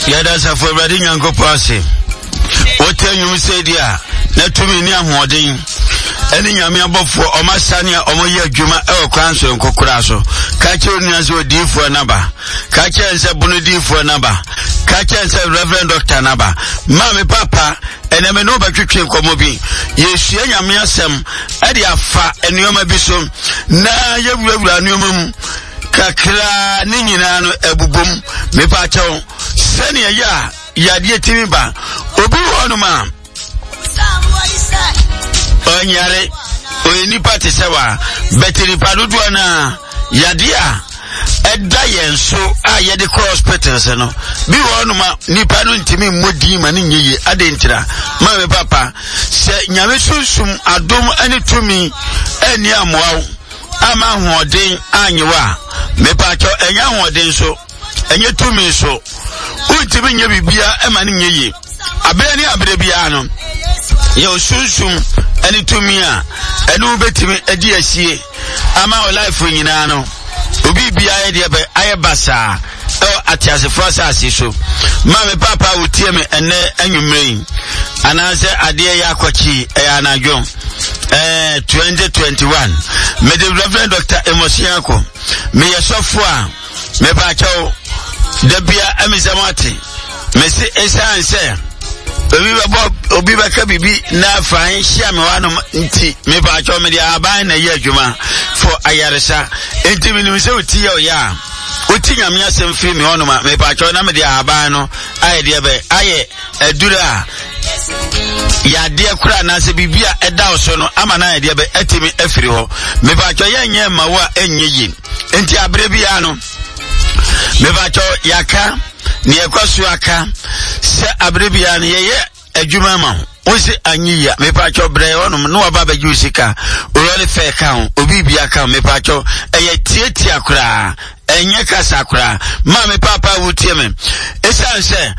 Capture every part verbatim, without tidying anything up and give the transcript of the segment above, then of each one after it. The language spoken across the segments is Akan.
Yɛda asafo Awurade Nyankopɔn ase. Wote nnwom sɛ di a, na tumi ne ahoɔden ɛne Nyame abɔfoɔ ɔma sane a ɔmɔyɛ adwuma ɛwɔ kwan soronko koraa so. Ka kyerɛ onua sɛ odiyifoɔ naba. Ka kyerɛ sɛ bono diyifoɔ naba. Ka kyerɛ sɛ Reverend Doctor naba. Maame papa, ɛnɛ me ne wobɛtwetwe nkɔmmɔ bi. Yɛsua Nyame asɛm ɛde afa nneɛma bi so na yɛwurawura nneɛma mu kakraa ne nyinaa no ɛbobom. Mepa kyɛw, sɛnea ɛyɛ a yadeɛ timi ba. Obi wɔ hɔnom a ɔnyare, ɔyɛ nipa te sɛ wa, bɛte nipa dodoɔ no a yadeɛ a ɛda yɛn so a yɛde kɔ hospitals no bi wɔ hɔnom a nipa no ntumi mmɔ din ma ne nyɛ yie. Ade ntira, maame papa, sɛ Nyame sunsum adom ne tumi ɛnni amoa wo ama ahoɔden anyɛ wo a, mepa kyɛw, ɛnyɛ ahoɔden so, ɛnyɛ tumi so, wontumi nyɛ biribiara ɛma ne nyɛ yie. Abere ne abere biara no, yɛ osunsum ne tumi a ɛne wobɛtumi adi asie ama wo life nyinaa no, obi biara yɛ deɛ bɛ ayɛ basaa ɛwɔ ateasefoɔ asase so. Maame papa, wotie me ɛnɛ anwummerɛ yi anaasɛ adeɛ yɛ akɔkye, ɛyɛ anadwo ɛɛ twenty twenty-one. Mede Reverend Doctor Amos Nyarko, meyɛ sɔfo a mepa kyɛw da bia ɛmi mo ate mesi ɛsiane sɛ obi bɛbɔ, obi bɛka biribi na afan hyia me hɔ nti, mepa kyɛw, mede aban na ɛyɛ adwuma for ayaresa. Nti menim sɛ oti yɛ ɔyɛ a woti Nyame asɛm firi me hɔnom a, mepa kyɛw, na mede ahaban no ayɛ deɛ bɛ ayɛ aduru a yadeɛ kora anaasɛ biribi a ɛda wo so no ama no ayɛ deɛ bɛ atumi afiri hɔ. Mepa kyɛw, yɛnyɛ mma wo a ɛnyɛ yie. Nti aberɛ biara no, mepa kyɛw, yɛaka ne yɛkɔ so aka sɛ aberɛ biara no yɛyɛ adwuma ma wo, wosi anyi yia, mepa kyɛw, brɛ hɔnom na waba abɛgye wo sika. Owurɔde fɛ ka ho, obi bia ka ho. Mepa kyɛw, ɛyɛ tietia koraa, ɛnyɛ kasa koraa. Maame papa, wotie me, ɛsiane sɛ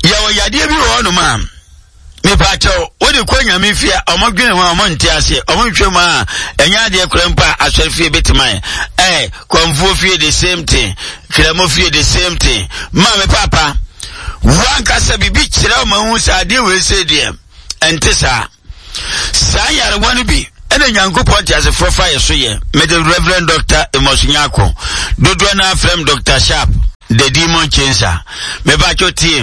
yɛwɔ yadeɛ bi wɔ hɔnom a, mepa kyɛw, wode kɔ Nyame fie a, ɔmo dwene ho a, ɔmo nte aseɛ, ɔmo nhwɛ mu a, ɛnyɛ adeɛ kora mpo a asɔre fie bɛtumi ayɛ. Ɛɛ kɔnfuo fie, the same thing, kramo fie, the same thing. Maame papa, wankasa biribi kyerɛ wo ma hu sɛ adeɛ wei sɛ deɛ ɛnte saa. Saa yarewa no bi ɛna Nyankopɔn te asefoɔ fa yɛ so yɛ. Mede Reverend Doctor Amos Nyarko, dodoɔ no afrɛm Doctor Sharp, the Demon Chaser. Mepa kyɛw, tie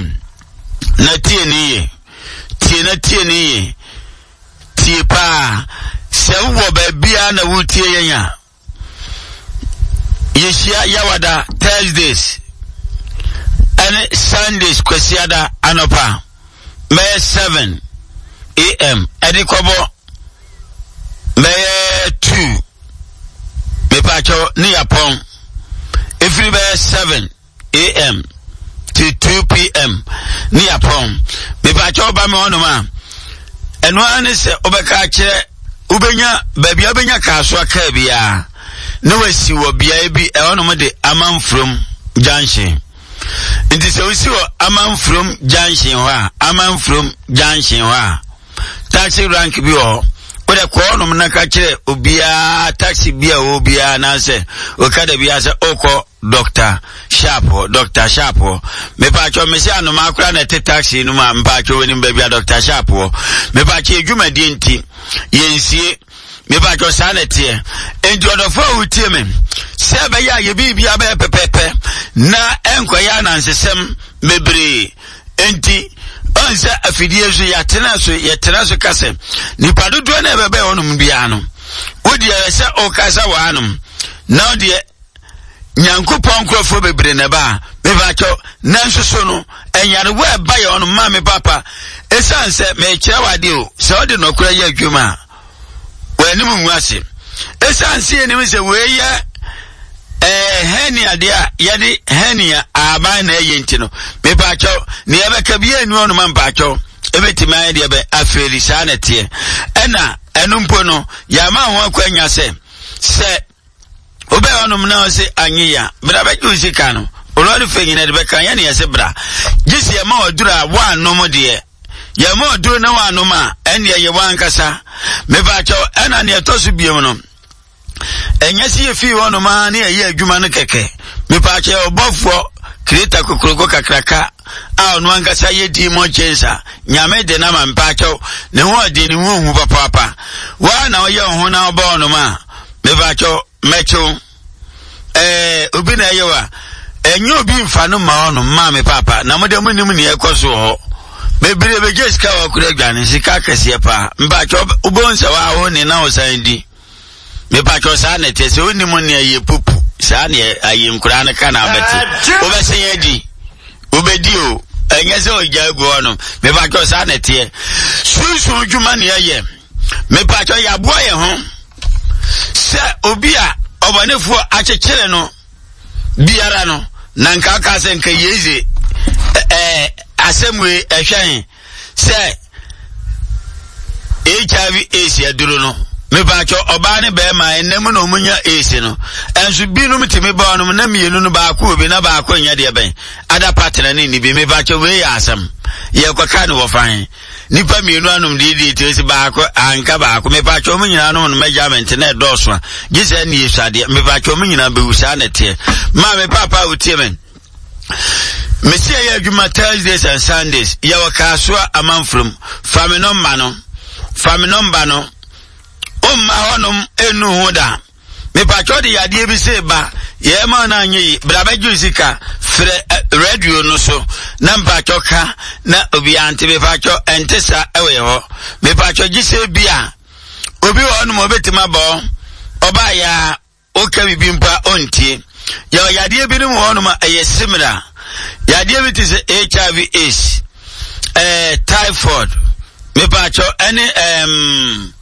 na tie ne yie, tie na tie ne yie, tie paa. Sɛ wowɔ baabiara na wotie yɛn a, yɛhyia Yawada, Thursdays, ɛne Sundays, Kwasiada anɔpa bɛyɛ seven A M ɛde kɔbɔ bɛyɛ two. Mepa kyɛw, ne yapɔn ɛfiri bɛyɛ seven A M to two P M ne yapɔn. Mepa kyɛw, ba me hɔnom a, ɛno ara ne sɛ wobɛka akyerɛ, wobɛnya baabi a wobɛnya kaasoa kaa biara na wasi wɔ beaeɛ bi ɛhɔnom de Amanfurom Junction. Nti sɛ wosi wɔ Amanfurom Junction hɔ a, Amanfurom Junction hɔ a, taxi rank bi wɔ hɔ. Wode kɔ hɔnom na ka kyerɛ obiara, taxi bi a ɔwɔ biara anaasɛ okada biara sɛ ɔkɔ Doctor Sharp hɔ, Doctor Sharp hɔ. Mepa kyɛw, mesi anoma akora na ɛte taxi no mu a, mepa kyɛw, wɔnim baabi a Doctor Sharp wɔ. Mepa kyɛw, adwumadie nti yɛnsie. Mepa kyɛw, saa na ɛteɛ. Enti ɔdɔfo a wotie me, sɛ ɛbɛyɛ a yɛbiribia bɛyɛ pɛpɛpɛ na ɛnkɔyɛ anansesɛm bebree enti, ɔn sɛ afidie so yɛatena so, yɛtena so ka sɛ nipa dodoɔ no ɛbɛbɛɛ hɔnom biara no, wodeɛ sɛ ɔkasa wɔ hanom na wodeɛ Nyankopɔn nkurɔfoɔ bebree na ɛba a, mepa kyɛw, nanso so no ɛnyarewa ɛba yɛ ɔno. Maa me papa, ɛsiane sɛ mekyerɛ wo adeɛ o, sɛ wode nɔkorɛ yɛ adwuma a, w'anim ngu ase. Ɛsiane sɛ yɛnim sɛ wei yɛ ɛɛ hernia deɛ a yɛde hernia aban na ɛyɛ nti no, mepa kyɛw, ne yɛbɛka bi yɛ anu ɔnom a, mepa kyɛw, ɛbɛtumi ayɛ deɛ bɛ afeeli. Saa na ɛteɛ. Ɛna ɛno mpo no, yɛama ho akwanya sɛ sɛ wobɛyɛ ɔnom na ɔse anye ya, bra bɛgye wo sika no. Olɔre fɛ nyina de bɛka yɛne yɛse bra gye sɛ yɛma ɔduru a woanom deɛ, yɛma ɔduru na woanom a, ɛnneɛ yɛ woankasa. Mepa kyɛw, ɛna neɛ ɛtɔ so biom no, ɛnyɛ sɛ yɛfii hɔnom a ne yɛyɛ adwuma no kɛkɛ. Mepa kyɛw, ɔbɔfoɔ kreta kokoroko kakraka. a ɔno ankasa yɛ demon chaser. Nyame de na ma mpakyɛw ne ho ɔde ne ho hu papaapa. Waa na ɔyɛ wo ho na ɔbɔ ɔnom a, mepakyɛw mɛkyew. Ɛɛ obi na ɛyɛ wa ɛnyɛ obi mfa no ma ɔnom maa me papa na mo de mo nim nea ɛkɔ so wɔ hɔ. Bebree bɛgye sika wɔ kura adwane sika kɛseɛ paa. Mpakyɛw wobɛhu sɛ waa wo ne na wo san di. Mepakyɛw saa na ɛteɛ sɛ wonim nea yɛ pupu saa ne ayɛ nkuraa no ka na abɛte. Wobɛsen adi. Wobɛdi o. Ɛnyɛ sɛ ɔgya agu hɔ no. Mepakyɛw saa na ɛteɛ. Sunsun dwuma ne ɛyɛ. Mepakyɛw yɛaboa yɛn ho sɛ obi a ɔbɔnefoɔ akyekyere no biara no na nka aka sɛ nka yeize ɛɛ asɛm wei ɛhwɛn sɛ H I V AIDS aduro no. Mepakyɛw ɔbaa ne bɛrima ɛnɛ mu na ɔmo nya AIDS no. Ɛnso binom tumi ba ɔnom na mmienu no baako obi na baako nyɛ deɛ bɛn. Ada partner ne ni bi. Mepakyɛw wei yɛ asɛm. Yɛkɔka ne wɔ fan. Nipa mmienu anom deɛ deɛ ti baako anka baako. Mepakyɛw ɔmo nyinaa nom no measurement na ɛdɔɔso a. Gye sɛ ɛne yɛsua adeɛ. Mepakyɛw ɔmo nyinaa bɛwu saa na ɛteɛ. Maame papa a wotie me. Mesi ɛyɛ adwuma Thursdays and Sundays. Yɛwɔ Kasoa amanfurom. Fa me nɔmba no. Fa me nɔmba no. Ɔmma hɔnom enu ho da. Mepakyɛw de yadeɛ bi se ba. Yɛma no anyɛ yi. Bra bɛgye sika. Frɛ radio no so. Na mpakyɛw ka na obi ante. Mepakyɛw ɛnte sa ɛwɔ yɛ hɔ. Mepakyɛw gye sɛ bi a obi wɔ hɔnom obetumi abɔ. Ɔbaa ya oka bibi mpa ontie. Yɛwɔ yadeɛ bi nom wɔ hɔnom a ɛyɛ similar. Yadeɛ bi te sɛ H I V AIDS, eh, typhoid, mepakyɛw ɛne um,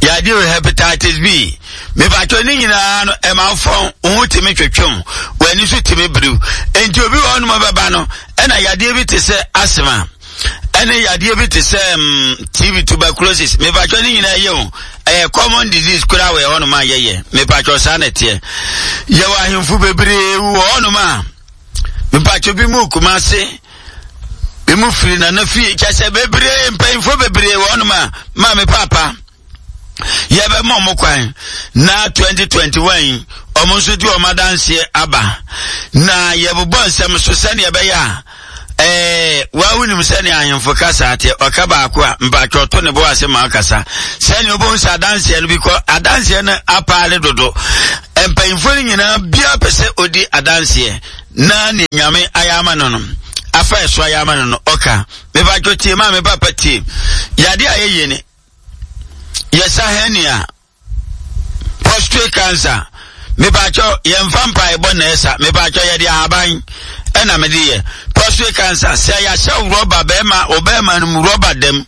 yadeɛ wɔ hepatitis B. Mepakyɛw ne nyinaa no ɛma fɔn wo ho tumi twetwem, w'ani so tumi biriw. Enti obi wɔ hɔnom bɛba no ɛna yadeɛ bi te sɛ asthma, ɛne yadeɛ bi te sɛ um, T B tuberculosis. Mepakyɛw ne nyinaa yɛ o. Ɛyɛ common disease koraa wɔ hɔnom a yɛyɛ. Mepakyɛw saa na ɛteɛ. Yɛwɔ ahemfo bebree wɔ hɔnom a mepakyɛw bi mu Kumase, bi mu firi Nana fie, kyɛ sɛ bebree mpanyinfoɔ bebree wɔ hɔnom a maame papa yɛbɛma ɔmo kwan na twenty twenty-one yi ɔmo nso di ɔmo adanseɛ aba na yɛbobɔ nsɛm so sɛnea ɛbɛyɛ a ɛɛ wawu nim sɛnea ahemfo kasa ate ɔka baako a mpakyɛw to ne bo ase ma ɔkasa sɛnea ɔbɛhu sɛ adanseɛ no bi kɔ adanseɛ no apaale dodo. Mpanyinfoɔ no nyinaa biara pɛ sɛ odi adanseɛ na ne nyame ayɛ ama no no afa ɛso ayɛ ama no no ɔka. Mepakyɛw tie maa me papa tie. Yade a yɛyɛ ni yɛsa hernia, prostate cancer. Mepakyɛw yɛmfa mpaebɔ na ɛsa. Mepakyɛw yɛde ahaban ɛna mede yɛ prostate cancer. Sɛ yɛahyɛ rɔba bɛrima ɔbɛrima no mu rɔba dɛm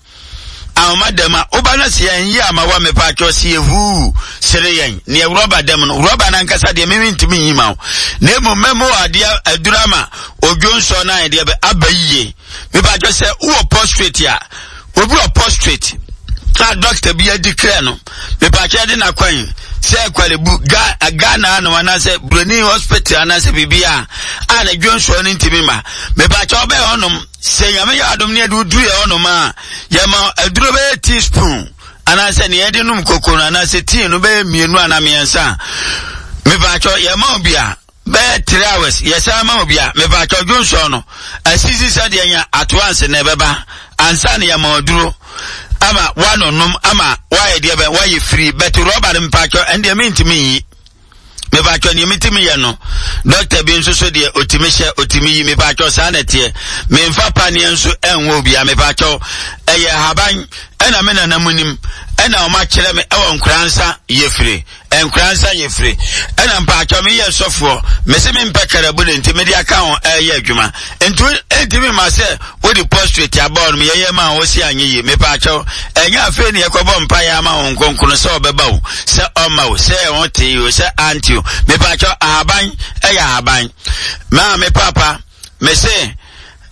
ahoma dɛm a woba no sɛ yɛn yi ama wa mepakyɛw sɛ yɛhuu sere yɛn neɛ rɔba dɛm no rɔba no ankasa deɛ meme ntumi nyi ma wo na mmom mɛmo adeɛ aduru ama odwo nsɔ no ayɛ deɛ bɛ aba yie. Mepakyɛw sɛ wowɔ prostate a obi wɔ prostate a doctor bi adi kra no mepakyɛw de n'akwan sɛ kwalebu ga Ghana ano anaasɛ Broni hospital anaasɛ biribi a a na dwonsɔ no ntumi ma. Mepakyɛw ɔbɛyɛ hɔnom sɛ nyame yɛ adom ne yɛde woduru yɛ hɔnom a yɛma aduro bɛyɛ teaspoon anaasɛ nea yɛde nom koko no anaasɛ tea no bɛyɛ mmienu anaa mmiɛnsa. Mepakyɛw yɛma obi a bɛyɛ three hours yɛsan ma obi a mepakyɛw dwonsɔ no asisi sɛdeɛ nya atoanse na ɛbɛba ansa ne yɛma aduro ama wanonom ama wayɛ deɛ bɛ wayɛ firi bɛte rɔba no mepakyɛw ɛndeɛ mentumi nyi. Mepakyɛw nea metumi yɛ no dɔkta bi nso so deɛ otumi hyɛ otumi yi. Mepakyɛw saa na ɛteɛ. Memfa paneɛ nso ɛnwɔ obia. Mepakyɛw ɛyɛ haban ɛna me nana mu nim ɛna ɔma kyerɛ me ɛwɔ nkoransa yɛ firi nkoransa yɛ firi ɛna mpakyɛw meyɛ sɔfoɔ mese mempɛ karabu ne nti mede aka ho ɛyɛ adwuma nti ɛntumi ma sɛ wode prostrate abɔ no yɛyɛ ma wo si anyɛ yie. Mepakyɛw ɛnyɛ afei ne yɛkɔbɔ mpaeɛ ama wo nkonkono sɛ ɔbɛba wo sɛ ɔma wo sɛ ɛho tee o sɛ ante o. Mepakyɛw ahaban ɛyɛ ahaban. Maa me papa mese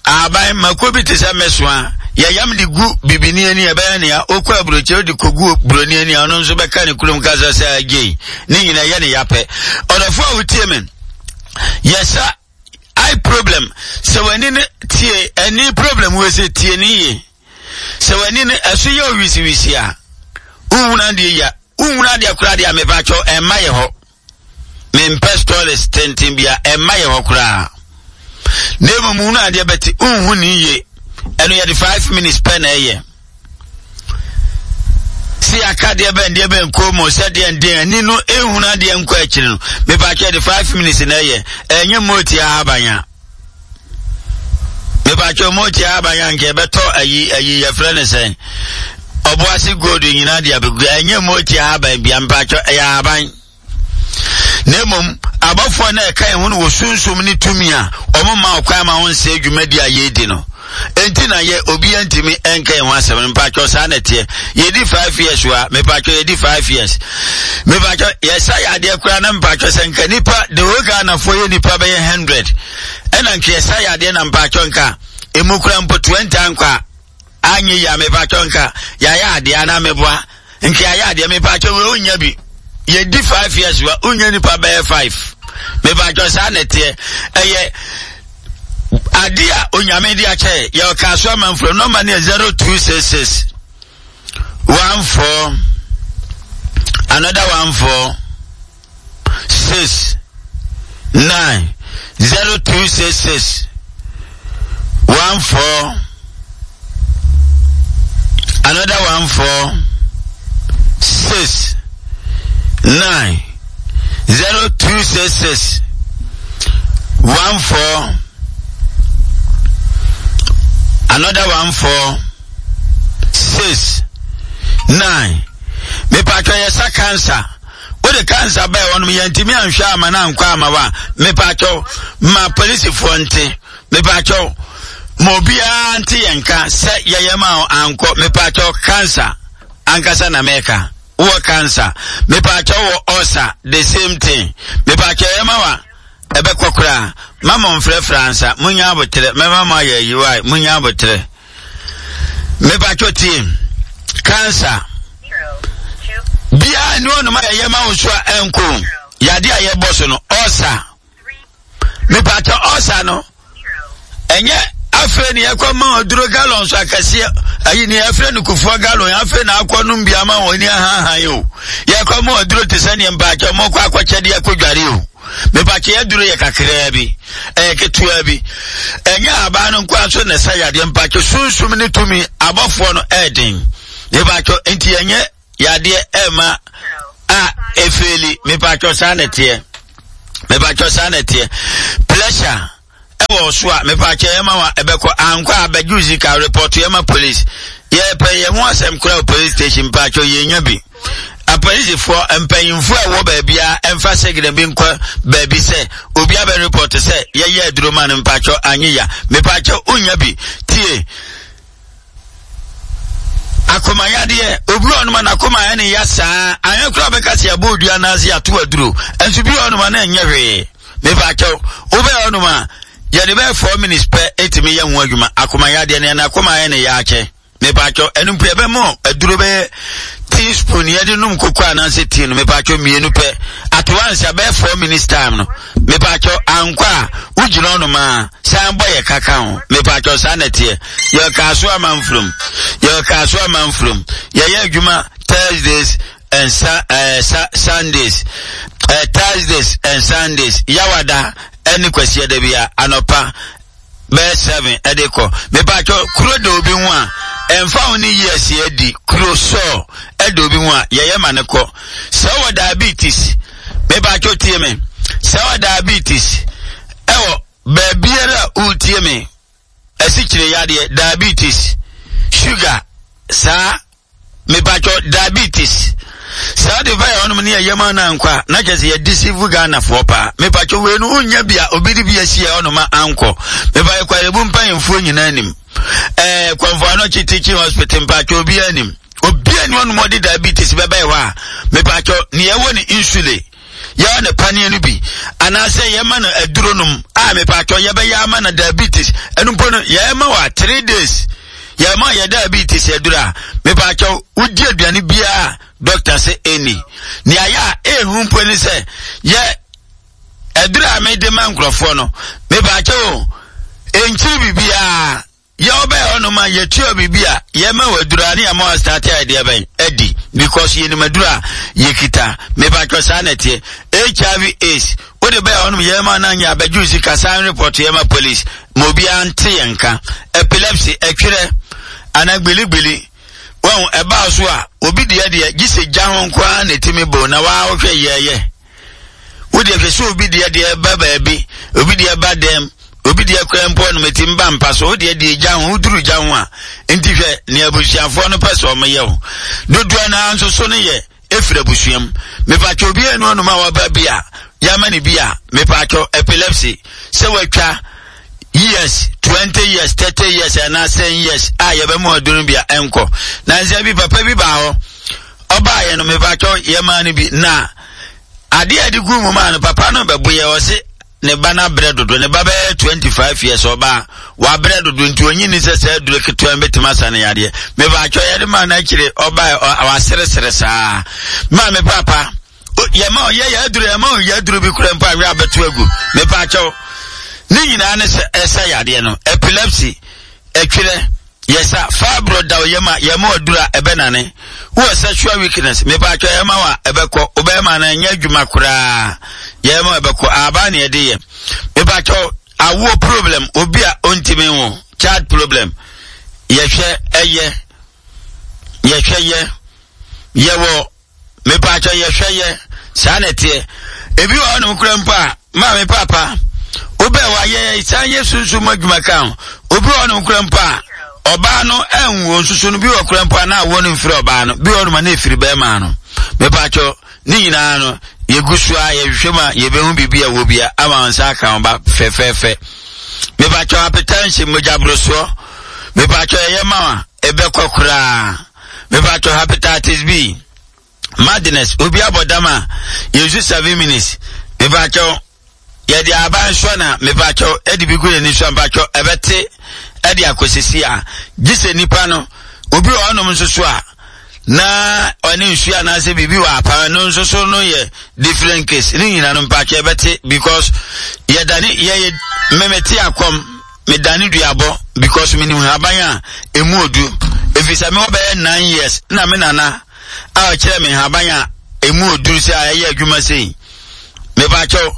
ahaban mako bi te sɛ mesoa yɛyam de gu bibini ani ɛbɛyɛ nea okɔ aburokyire de kogu buroni ani ɔno nso bɛka ne kurom kasa sɛ agye ne nyinaa yɛ ne yapɛ. Ɔdɔfo a wotie me yɛsa eye problem sɛ w'ani no tie ani problem wɔ sɛ tie ne yie sɛ w'ani no ɛso yɛ owisiwisi a wohunu adeɛ ya wohunu adeɛ koraa deɛ mepakyɛw ɛmma yɛ hɔ. Mempɛ stories tenten bia ɛmma yɛ hɔ koraa. Na mmom hunu adeɛ bɛte wonhu ne yie. Ɛno yɛde five minutes pɛ na ɛyɛ. Si aka deɛ bɛn deɛ bɛn kɔn mu sɛ deɛ deɛ ani no ehunu adeɛ nkɔ akyiri no, mepatwa yɛde five minutes na ɛyɛ. Ɛnyɛ mooti ahaban a. Mepatwa mooti ahaban a nka ɛbɛtɔ ayi ayi yɛfrɛ ne sɛn, ɔboase gold nyinaa de abɛgu. Ɛnyɛ mooti ahaban bia, mepatwa ɛyɛ ahaban. Na mmom abɔfoɔ na ɛka yɛn ho no wɔ sunsum ne tumi a wɔn ma ɔkwan ma wɔn nsɛ dwumadi a yɛredi no. Enti na yɛ obiara ntumi nka yɛn ho asɛm no. Mpatwɔ saa na ɛteɛ. Yɛdi five years wa, mepatwɔ yɛdi five years. Mepatwɔ yɛsa yɛ adeɛ koraa na mpatwɔ sɛ nka nipa de wɔ Ghanafoɔ yɛ nipa bɛyɛ hundred. Ɛna nka yɛsa yɛ adeɛ na mpatwɔ nka emu kura mpo twenty ankɔ a anyɛ yie a, mepatwɔ nka yɛayɛ adeɛ anaa meboa nka yɛayɛ adeɛ. Mepatwɔ wei wonya bi. Yɛdi five years wa, wonya nipa bɛyɛ five. Mepatwɔ saa na ɛteɛ. Ɛyɛ ade a Onyame de akyɛ yɛ. Ɔka so amanfo nɔmba no yɛ zero two six six one four another one four six nine, zero two six six one four another one four six nine, zero two six six one four another one four six nine. Mepatwa yɛ sa cancer, wode cancer bɛɛ wɔnom yɛntumi anhwɛ ama no ankɔ ama wa, mepatwɔ ma polisifoɔ nte, mepatwɔ ma obiara nte yɛn ka sɛ yɛyɛ ma ankɔ. Mepatwɔ cancer ankasa na mɛka wɔ cancer, mepatwɔ wɔ ulcer, the same thing. Mepatwɔ yɛ ma wa ɛbɛkɔ koraa. Mama mfrɛfrɛ ansa, munya abotrɛ, mɛma mo ayɛ ayiwa, munya abotrɛ. Mepatwɔ tie, cancer biara ne ɔnom a yɛyɛ ma wo so a ɛnko yade a yɛbɔ so no, ulcer, mepatwɔ ulcer no ɛnyɛ afei ne yɛkɔ ma ɔduro gallon so akɛseɛ ayi ne yɛfrɛ no kufuɔ gallon, afei na akɔ nom bi ama wɔn ani ahahan o. Yɛkɔ ma ɔduro te sɛ neɛ mpakyɛ mɔkɔ akɔkyɛdeɛ akɔ dware o. Mepatwɛ yɛduro yɛ kakraa bi, ɛyɛ ketewa bi. Ɛnyɛ abaa no nkoa so na ɛsɛ yadeɛ. Mpatwɛ sunsum ne tumi abɔfoɔ no ɛɛden. Mepatwɛ nti ɛnyɛ yadeɛ ɛma a efeeli. Mepatwɛ saa na ɛteɛ. Mepatwɛ saa na ɛteɛ. Pressure ɛwɔ so a, mepatwɛ ɛma wa ɛbɛkɔ ankɔ a bɛgye sika report ɛma police. Yɛpɛ yɛn ho asɛm kora wɔ police station. Mpatwɛ yɛnya bi apolisifoɔ mpanyinfoɔ a ɛwɔ baabi a ɛmfa signal bi nkɔ baabi sɛ obi abɛ report sɛ yɛyɛ aduro ma no, mpatwɛ anye ya. Mepatwɛ wonya bi tie. Akomayadeɛ, obi wɔ ɔnoma n'akoma ɛne ya saa anyɛ koraa bɛka sɛ yɛbɔ odua anaasɛ yɛato aduro, ɛnso bi wɔ ɔnoma na ɛnyɛ hwee. Mepatwɛ wobɛyɛ ɔnoma yɛde bɛyɛ four minutes pɛ ɛtumi yɛ ho adwuma. Akomayadeɛ no yɛn akoma ɛne yɛ akyɛ. Mepatwɛ ɛno mpo yɛbɛmɔ aduro bɛyɛ teaspoon yɛde nom koko anaasɛ tea no, mepatwɛ mmienu pɛ at once abɛyɛ four minutes time no. Mepatwɛ ankɔ a wogyina ɔnom a san bɔ yɛ kaka ho. Mepatwɛ saa na ɛteɛ. Yɛka so amanfurom, yɛka so amanfurom. Yɛyɛ adwuma Thursdays and sa uh, sa Sundays, uh, Thursdays and Sundays, Yawada ɛne Kwasiada bi a anɔpa bɛyɛ seven ɛde kɔ. Mepatwɛ kuro da obi ho a ɛnfa ho ne years adi kuro sɔɔ ɛda obi ho a yɛyɛ ma ne kɔ. Sɛ ɔwɔ diabetes, mepatwɛ tie me, sɛ ɔwɔ diabetes ɛwɔ baabiara a wotie me, asikyire yadeɛ, diabetes, sugar saa, mepatwɔ diabetes saa de fa yɛ hɔnom ne yɛyɛ ma no ankɔ a na kyerɛ sɛ yɛde sivu Ghanafoɔ paa. Mepatwɔ wei no wonya bi a obi de bi asi yɛ hɔnom a ankɔ. Mepa yɛ Korle Bu mpanyimfoɔ nyinaa nim ɛɛ Komfo Anokye Teaching Hospital. Mpatwɔ obiara nim, obiara ni hɔnom ɔde diabetes bɛbɛyɛ hɔ a, mepatwɔ ne yɛwɔ ne insulin, yɛwɔ ne paneɛ no bi anaasɛ yɛma no aduro nom a, mepatwɔ yɛbɛyɛ ama no diabetes. Ɛno mpo no yɛma wɔ a three days yɛma yɛ diabetes aduro a, mepatwɔ wodi aduane biara doctor sɛ ɛni nea yɛ a ɛhu mpo ne sɛ yɛ aduro a mede ma nkurɔfoɔ no, mepatwɔ o ɛnkyiri biribiara. Yɛ ɔbɛyɛ hɔnom a yɛtua biribi a yɛma wɔ aduro a ne yɛma wɔ start a yɛde ɛbɛn adi because yɛnim aduro a yɛkita. Mepatwɔ saa na ɛteɛ. H I V AIDS wode Wode bɛyɛ hɔnom yɛma no anyɛ abɛgye sika san report yɛma police ma obiara nte yɛn nka. Epilepsy, ɛtwerɛ anaa gbeligbeli wɔn ɛbaa so a, obi deɛ deɛ gye sɛ gya ho nko ara na ɛtumi bo na waa wohwɛ yɛɛyɛ. Wode hwɛ sɛ obi deɛ deɛ ba baabi, obi deɛ ba dɛm, obi deɛ kora mpo no mɛtumi ba mpa so, wodeɛ deɛ gya ho, woduru gya ho a, nti hwɛ nea abusuafoɔ no pɛ sɛ ɔmoyɛ wo. Dodoɔ no ara nso so no yɛ efiri abusuam. Mepatwɛ obi enu ɔnum a waba bi a yama ne bi a, mepatwɛ epilepsy sɛ watwa years, twenty years, thirty years anaa ten years a yɛbɛmu aduro bi a ɛnkɔ. Na nsɛ bi papa bi baa hɔ, ɔbaa yɛ no, mepatwɛ yɛmaa no bi na adeɛ a yɛde gu mu maa no, papa no bɛbo yɛ, ɔse ne ba no abrɛ dodo, ne ba bɛyɛ twenty five years, ɔbaa wabrɛ dodo nti onyi ni sɛ sɛ aduro ketewa bɛtumi asa ne yadeɛ. Mepatwɛ yɛde maa no akyire, ɔbaa waseresere saa. Maa me papa yɛma ɔyɛ yɛ aduro, yɛma ɔyɛ aduro bi kura mpo awie abɛto agu. Mepatwɛ ne nyinaa ne sɛ ɛsa yadeɛ no. Epilepsy, ɛtwerɛ, yɛsa fibro da yɛma yɛma aduro a ɛbɛnane. Wowɔ sexual weakness, mepatwɛ yɛma wa ɛbɛkɔ, wobɛma no ɛnyɛ adwuma koraa, yɛma ɛbɛkɔ aba ne yɛde yɛ. Mepatwɛ awoɔ problem, obi a ɔntumi nwo, child problem, yɛhwɛ ɛyɛ, yɛhwɛ yɛ, yɛwɔ mepatwɛ yɛhwɛ yɛ saa na ɛteɛ. Ebi wɔ hɔnom kura mpo a, maame papa wobɛ wa yɛ san yɛ sunsun mu adwuma ka ho. Obi wɔ hɔnom kura mpo a, ɔbaa no ɛnwo nsusu no bi wɔ kura mpo a na awoɔ no mfiri ɔbaa no, bi wɔ hɔnom a na efiri bɛrima no. Mepatwɛ ne nyinaa no yɛgu so a yɛhwehwɛ mu a yɛbɛhu biribi a wɔ bia ama wɔn nsa aka wɔn ba fɛfɛɛfɛ. Mepatwɛ hypertension, mogyaborosoɔ, mepatwɛ ɛyɛ ma wa ɛbɛkɔ koraa. Mepatwɛ hepatitis B, madness, obi abɔ dam a yɛsu seven minutes. Mepatwɛ yɛde aba nso na mepatwɛ ɛde bi gu n'ani so a, mepatwɛ ɛbɛte ɛde akɔsisi a gye sɛ nipa no. Obi wɔ hɔnom nso so a na ɔne nsuo anaasɛ biribi wɔ apam no nso so no yɛ different case. Ne nyinaa no mpatwɛ ɛbɛte because yɛdane yɛyɛ mmɛmɛte akɔm medane duabɔ because menim haban a emu odu, ɛfiri sɛ mewɔ bɛyɛ nine years na me nana a ɔkyerɛ me haban a emu odu sɛ a ɛyɛ adwuma sei. Mepatwɛ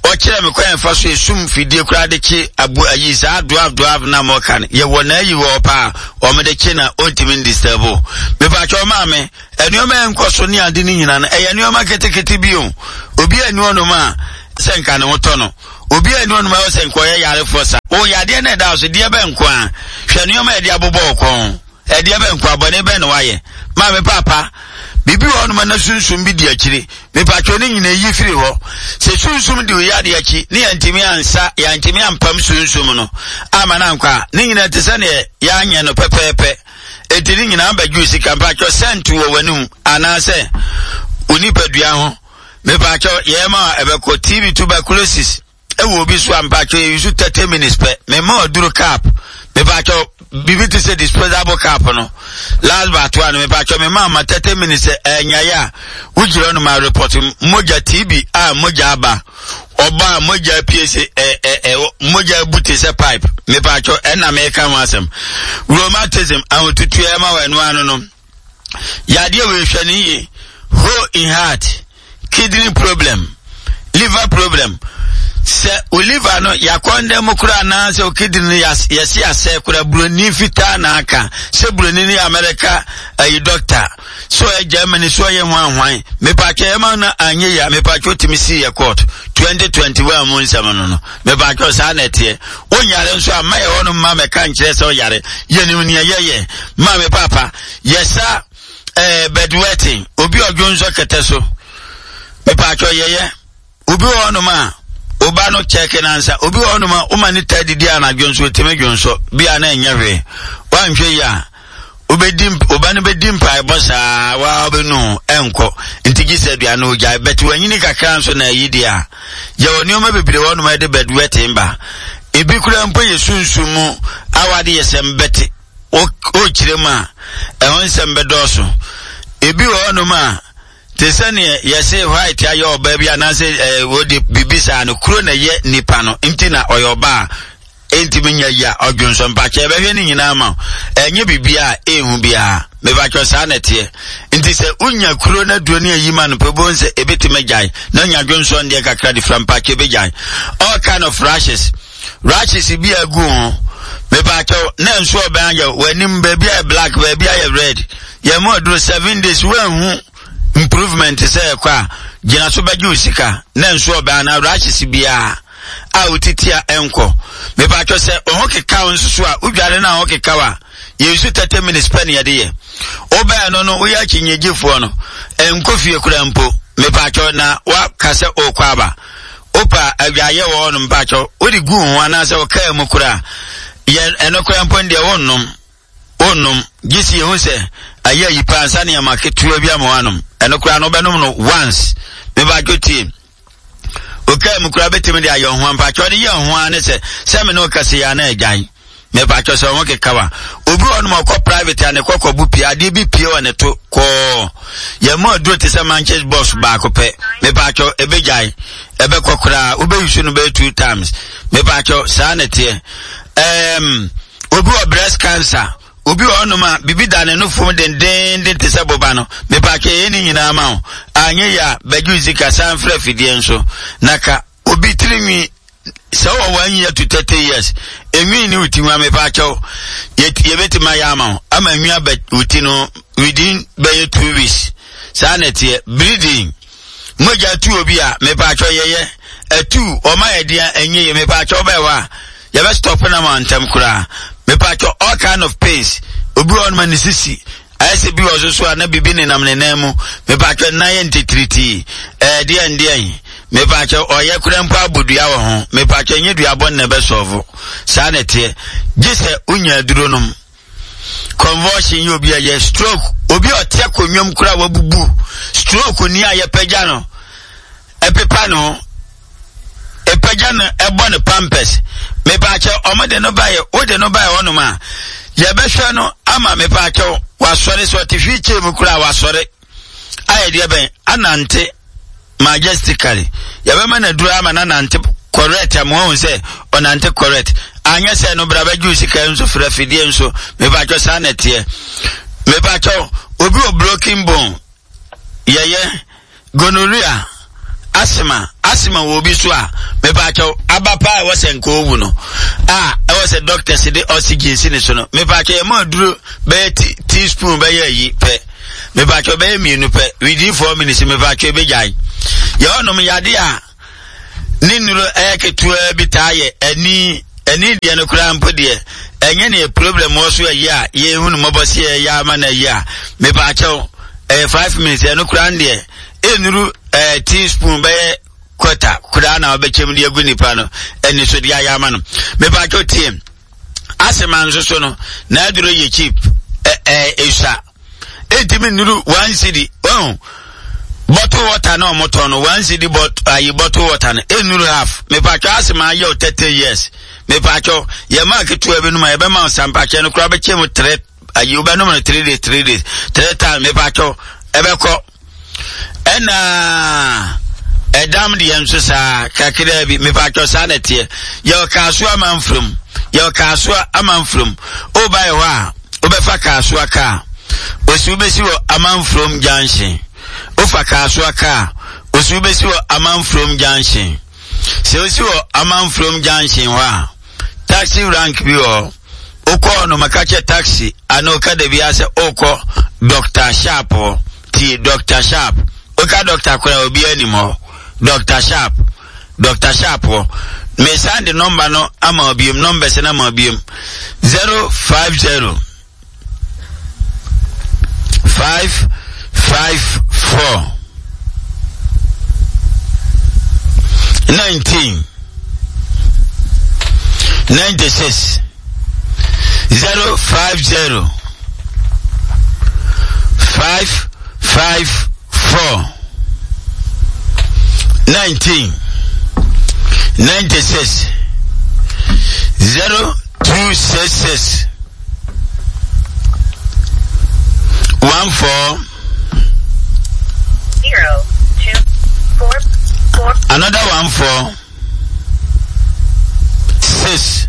ɔkyerɛ me kwan fa so esum fidie koraa de kye abu ayi saa dwarf dwarf na mo ka no, yɛwɔ na ayi wɔ paa wɔn de kye na ɔntumi ndisturb. Mepatwɛ maame, nneɛma yɛn nkɔ so ne ade ne nyinaa no ɛyɛ nneɛma ketekete bi o. Obi a ni hɔnom a sɛ nka ne ho tɔ no, obi a ni hɔnom a sɛ nka ɔyɛ yarefoɔ sa o yadeɛ na ɛda so deɛ bɛ nko a, hwɛ nneɛma yɛde abobɔ ɔkɔn ɛdeɛ bɛ nko abɔne bɛ na wayɛ. Maame papa, biribi wɔ hɔnom na sunsum bi di akyire, mepatwɛ ne nyinaa yi firi hɔ. Sɛ sunsum di oyɛ adeɛ akyi ne yɛntumi ansa, yɛntumi ampam sunsum no ama no ankɔ a, ne nyinaa te sɛ neɛ yɛanyɛ no pɛpɛɛpɛ. Enti ne nyinaa bɛdwo sika. Mpatwɛ sɛnt wɔ w'anum anaasɛ onipadua ho, mepatwɛ yɛma a ɛbɛkɔ. T B, tuberculosis ɛwɔ obi so a, mpatwɛ yɛyi so thirty minutes pɛ. Mema ɔduro cap, mepatwɛ biribi te sɛ disposable cap no last but one, mepatwɛ mema ama thirty minutes ɛnyaeɛ a wogyina no ma report. Mogya T B a mogya aba, ɔba a mogya pie sɛ ɛ ɛ ɛ mogya bu te sɛ pipe, mepatwɛ ɛna meka ho asɛm. Rheumatism, ahotutuo ɛma wɔ ɛno ano no yadeɛ wɔ ehwɛ ne yie. Hole in heart, kidney problem, liver problem, sɛ o liver no yakɔndɛ mu koraa anaasɛ o kidney no yɛsi asɛ koraa, buroni fitaa na aka sɛ buroni ne America ayi doctor so ɔyɛ Germany so ɔyɛ hwan hwan, mepatwɛ ɛma no anyɛ yie a, mepatwɛ otumi si yɛ court twenty twenty one mu nsɛm no no mepatwɛ saa na ɛteɛ. Wonyare nso a, mma yɛ hɔ no mma mɛka nkyerɛ sɛ ɔyare. Yɛnim nea yɛyɛ. Maame papa, yɛsa ɛɛ bedwetting, obi ɔdwo nso kɛtɛ so, mepatwɛ yɛyɛ. Obi wɔ hɔnom a ɔba no kyɛke nansa, obi wɔ hɔnom a woma ne taa didi anadwo nso otumi dwo nso bia na ɛnyɛ hwee. Wanhwɛ yi a, wobɛdi ɔba no bɛdi mpaebɔ saa waa wobɛnu ɛnkɔ nti gye sɛ aduane ogyae bɛte wanyini kakra nso na ayi deɛ a yɛwɔ nneɛma bebree wɔ hɔnom a yɛde bedwetting ba. Ebi kura mpo yɛ sunsum mu awade yɛ sɛm bɛte ɔkyerɛ mu a ɛho nsɛm bɛdɔɔso. Ebi wɔ hɔnom a te sɛ neɛ yɛse white ayɛ ɔbaa bi anaasɛ ɛɛ wɔde biribi saa no kuro na ɛyɛ nipa no nti na ɔyɛ ɔbaa. ɛntumi nyɛ yi a ɔdwonsɔ mpakyɛ ɛbɛhwɛ ne nyinaa ma ɛnyɛ biribiara ɛnhu biara mepakyɛ saa na ɛteɛ nti sɛ wonya kuro no aduro ne ayi ma no pɛ bohu sɛ ɛbɛtumi agyae na nya dwonsɔ ndeɛ kakra de fira mpakyɛ ɛbɛgyae all kind of rashes rashes bi agu ho mepakyɛw na nso ɔbɛn ayɛ w'anim baabi ayɛ black baabi ayɛ red yɛn mu aduro seven days woanhu improvement sɛ ɛkɔ a gyina so bɛgye wo sika na nso ɔbɛn na rashes biara a wotiti a ɛnkɔ mepakyɛw sɛ ɔho keka wo nso so a wodware no a ho keka wo a yɛnsu thirty minutes pɛ ne yɛde yɛ wobɛɛ no no woyɛ akyinnyegyefoɔ no ɛnkɔ fie kora mpo mepakyɛw na woaka sɛ ɔrekɔ aba wopa adwaayɛ wɔ hɔ no mpakyɛw wode gu ho anaasɛ wokaa mu koraa yɛ ɛno koraa mpo deɛ wonnom wonnom gye si yɛhu sɛ ayɛ ayi paa nsa nneɛma ketewa bi ama woanom ɛno koraa no wobɛnom no once mepakyɛw tie okaa mu koraa bɛtumi de ayɛ ho mpakyɛw de yɛ ho ara ne sɛ sɛ me ne wo kasa yi a na agyae mepatwɔ sɛ ɔho keka wa obi wɔ nom ɔkɔ private a ne kɔkɔ bu pie adeɛ bi pie wɔ ne to kɔɔ yɛn mu aduro te sɛ manches box baako pɛ mepatwɔ ebegyae ɛbɛkɔ koraa wobɛyi so no bɛyɛ two times mepatwɔ saa na teɛ ɛɛm obi wɔ breast cancer obi wɔ hɔnom a biribi da ne no fam dendenden te sɛ boba no mepatwɔ yɛn ne nyinaa ma wo anyɛ yɛ a bɛgye sika san frɛ afidie nso na ka obi tirinwi sɛ wɔ one year to thirty years enwi ne wo ti ho amepa akyɛw yɛbɛtumi ayɛ ama wo ama enwi aba wo ti no within bɛyɛ two weeks saa na ɛteɛ bleeding mogya tu obi a mepa akyɛw yɛyɛ atu ɔma yɛ deɛ ɛnyɛ yɛ mepa akyɛw bɛyɛ hɔ a yɛbɛ stop na ma ntɛm koraa mepa akyɛw all kind of pains obi wɔ ɔnoma ne sisi ayɛ sɛ bi wɔ so so a na biribi nenam ne nan mu mepatwɛ nan yɛ ntitiritii ɛɛ deɛn deɛn mepatwɛ ɔyɛ kura mpo abɔ dua wɔ ho mepatwɛ nye dua bɔ ne bɛsɔɔfo saa na ɛteɛ gye sɛ wonya aduro nom convulsion yɛ obi a yɛ stroke obi a ɔte akonnwa mu kura wabubu stroke ni a yɛpɛgya no ɛpepa no ho ɛpɛgya no ɛbɔ no pampers mepaakyɛw ɔmo de no baeɛ wode no baeɛ hɔnom a yɛbɛhwɛ no ama mepaakyɛw wasɔre sɛ ɔte wheelchair mu koraa wasɔre ayɛ deɛ bɛn anante majestically yɛbɛma no aduro ama no anante correct ama wɔn sɛ ɔnante correct anyɛ sɛ no bra bɛgye sika nso frɛ fidie nso mepaakyɛw saa na ɛteɛ mepaakyɛw obi wɔ broken bone yɛyɛ gonorrhea asthma asthma wɔ obi so a mepaakyɛw aba paa ɛwɔ sɛ nka owu no a ɛwɔ sɛ doctors de oxygen si ne so no mepaakyɛw yɛ ma aduro bɛyɛ teaspoon bɛyɛ ayi pɛ mepaakyɛw bɛyɛ mmienu pɛ within four minutes mepaakyɛw ebɛgyae yɛ hɔnom yade a ne nnuro ɛyɛ ketewa bi taa yɛ ani ani deɛ no koraa mpo deɛ ɛnyɛ ne problem wɔ so ayi a yɛhu no mmɔbɔ sɛ yɛyɛ ama no ayi a mepaakyɛw ɛyɛ five minutes ɛno koraa deɛ ɛnuru ɛɛ teaspoon bɛyɛ quarter koraa na ɔbɛkyɛm de agu nipa no ɛni so de ayɛ ama no mepaakyɛw tie asema nso so no n'aduro yɛ cheap ɛ ɛ esua ɛntumi nnuru one cedi ɔn bottle water na ɔmo tɔn no one cedi bot ayi bottle water no ɛnnuru half mepaakyɛw asema ayɛ o thirty years mepaakyɛw yɛ maa ketewa bi no ma yɛbɛma sampakyɛ no koraa bɛkyɛ mu three ayi wobɛnom no three days three days three times mepaakyɛw ɛbɛkɔ ɛna ɛdam deɛ nso saa kakra bi mepatwɔ saa na ɛteɛ yɛwɔ kaasoa amanfurom yɛwɔ kaasoa amanfurom woba yɛ hɔ a wobɛfa kaasoa kaa osi wobɛsi wɔ amanfurom junction wofa kaasoa kaa osi wobɛsi wɔ amanfurom junction sɛ osi wɔ amanfurom junction hɔ a taxi rank bi wɔ hɔ wokɔɔ no maka kyɛ taxi ana woka da bi asɛ wokɔ dr sharp hɔ tie dr sharp woka dr koraa obi anim hɔ dr sharp dr sharp hɔ mesan de number no ama obiom numbers no ama obiom zero five zero five five four nineteen ninety six zero five zero five five four nineteen ninety six zero two six six one four zero two four four another one four six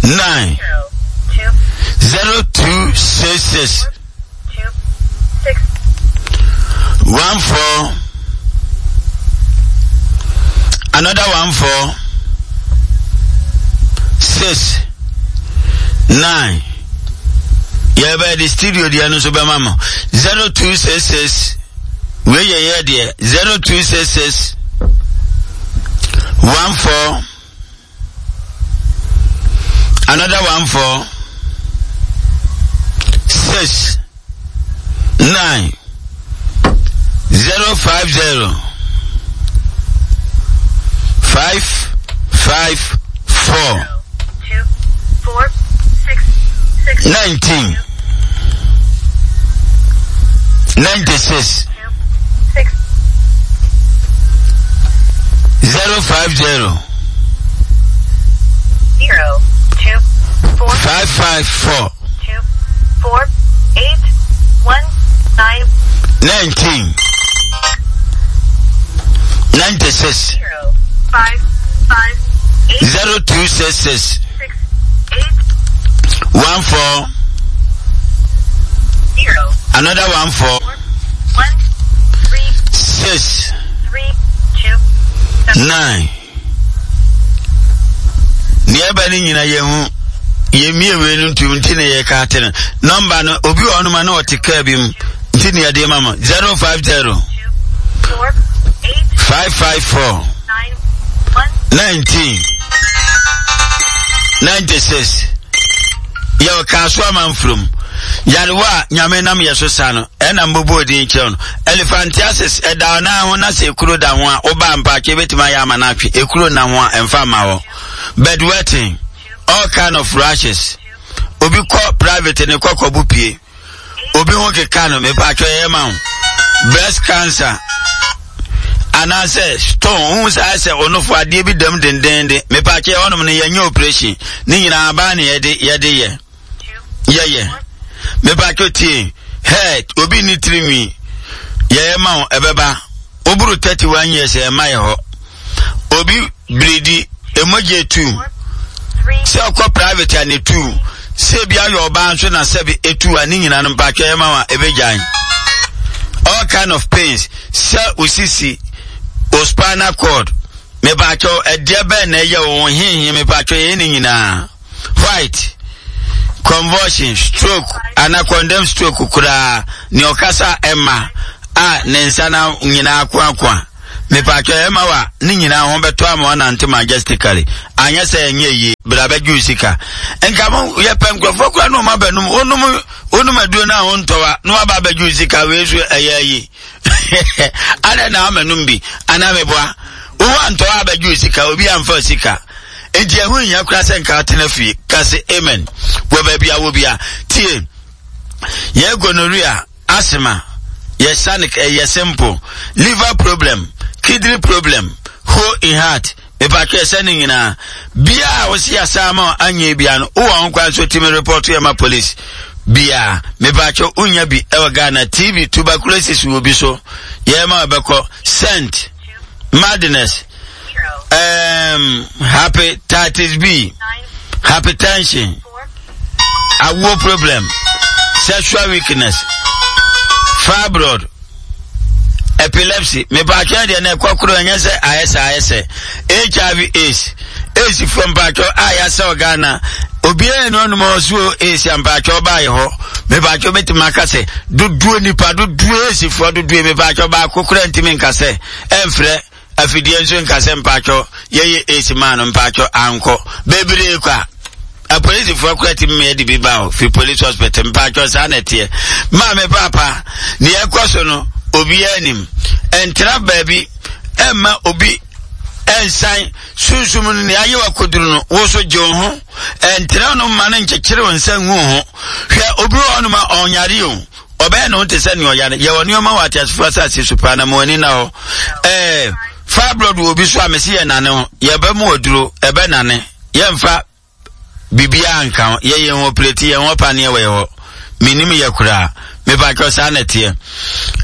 nine zero two six six one four another one four six nine. Yɛbɛyɛ de studio deɛ no nso bɛma mo zero two six six wei yɛ yɛ deɛ zero two six six one four another one four six nine zero five zero five five four two, four, six, six, nineteen ninety six two, six, zero five zero zero, two, four, five five four two, four, eight, one, nine, nineteen ninety six zero, five, five, eight, zero two six six six, eight, one four zero, another one four four, one, three, six three, two, seven, nine. Nea ɛba ne nyina yɛn ho yɛmmie wei no ntom nti na yɛka ate no nɔmba no obi wɔ hɔnom a na ɔte kaa bi mu nti ne yɛde ma mo zero five zero two, four, eight, five five four nine, one, nineteen ninety six yɛwɔ kaaso amanfurom yarewa a nyame nam yɛ so sa no ɛna mbobɔ odin kyerɛw no elephantiasis ɛda ɔnan ho na sɛ ekuro da ho a woba mpaakye ebɛtumi ayɛ ama no atwe ekuro na ho a ɛmfa ma hɔ bedwetting all kind of rashes obi kɔ private ne kɔkɔ bu pie obi ho keka no mepatwɛ yɛ ma ho breast cancer anaasɛ stone wohu saa sɛ ɔnofo adeɛ bi dam dendenden mepatwɛ hɔnom no yɛnyɛ operation ne nyinaa baa ne yɛde yɛde yɛ two, yɛyɛ mepatwɛ tie head obi ne tirinwi yɛyɛ ma wo ɛbɛba woboro thirty one years ɛma yɛ hɔ obi biridi emogye tu four, three, sɛ ɔkɔ private a ne tu sɛ ebi ayɛ ɔbaa nso na sɛbi etu a ne nyinaa no mpatwɛ yɛ ma wa ebegyan all kind of pains sɛ osisi o spinal cord mepatwɛ ɛdeɛ bɛn na ɛyɛ wɔn hinhin mepatwɛ yɛ ne nyinaa white convulsion stroke ana condemn stroke koraa nea ɔkasa ɛma a ne nsa na nyinaa koakoa mepatwɛ ɛma wa ne nyinaa ho bɛtɔ ama ɔnante majestically anyɛ sɛ ɛnyɛ yie bra bɛgye wo sika nka mo yɛpɛ nkurɔfoɔ koraa na ɔma bɛnom wonom wonom aduro no a wontɔ wa na waba abɛgye wo sika wei so ɛyɛ ayi adɛn na ama nom bi anaa meboa wowɔ antɔ wa abɛgye wo sika obi amfa wo sika nti ɛho nhia koraa sɛ nka atena fie ka se amen wɔ baabi a wɔ bia tie yɛ gonorrhea asthma yɛ sanic ɛyɛ simple liver problem kidney problem hole in heart mepatwɛ sɛ ne nyinaa bia a wosi asa ama anyɛ bia no wowɔ ho kwan so tumi report yɛ ma police bia mepatwɛ wonya bi ɛwɔ ghana tb tuberculosis wɔ bi so yɛ ma ɛbɛkɔ scent madness zero, um, hepatitis b nine, hypertension four, awo problem sexual weakness fibroid epilepsy mepatwɛ deɛ na ɛkɔ koro ɛnyɛ sɛ ayɛ sɛ ayɛ sɛ hiv aids aids fo mpatwɛ a yɛasɛ ghana obiara ni ɔnom ɔso aids a mpatwɛ ɔbaayɛ hɔ mepatwɛ bɛtumi aka sɛ dodoɔ nipa dodoɔ aids foɔ dodoɔ mepatwɛ baako kora ntumi nka sɛ ɛmfrɛ afidie nso nka sɛ mpatwɛ yɛyɛ aids maa no mpatwɛ ankɔ bebree kwa apolisifoɔ kora ti mmea de bi ba hɔ fi police hospital mpatwɔ saa na ɛteɛ maame paapa nea ɛkɔ so no obiara nim ɛntena baabi ɛmma obi ɛnsan sunsum no nea ayɛ wakoduru no wo so gye wo ho ɛntena no mma no nkyekyere wo nsa ngu wo ho hwɛ obi wɔ hɔnom a ɔnyare o ɔbɛyɛ ne ho te sɛ nea ɔyare yɛwɔ nneɛma wɔ ateasefoɔ asase so paa na mo ani na hɔ ɛɛ fibroid wɔ obi so a mesi yɛ nane ho yɛbɛ mu aduro ɛbɛ nane yɛmfa biribiara nka ho yɛyɛ ho operate yɛn ho paneɛ wɔ yɛ hɔ menim yɛ koraa mepatwɛ saa na ɛteɛ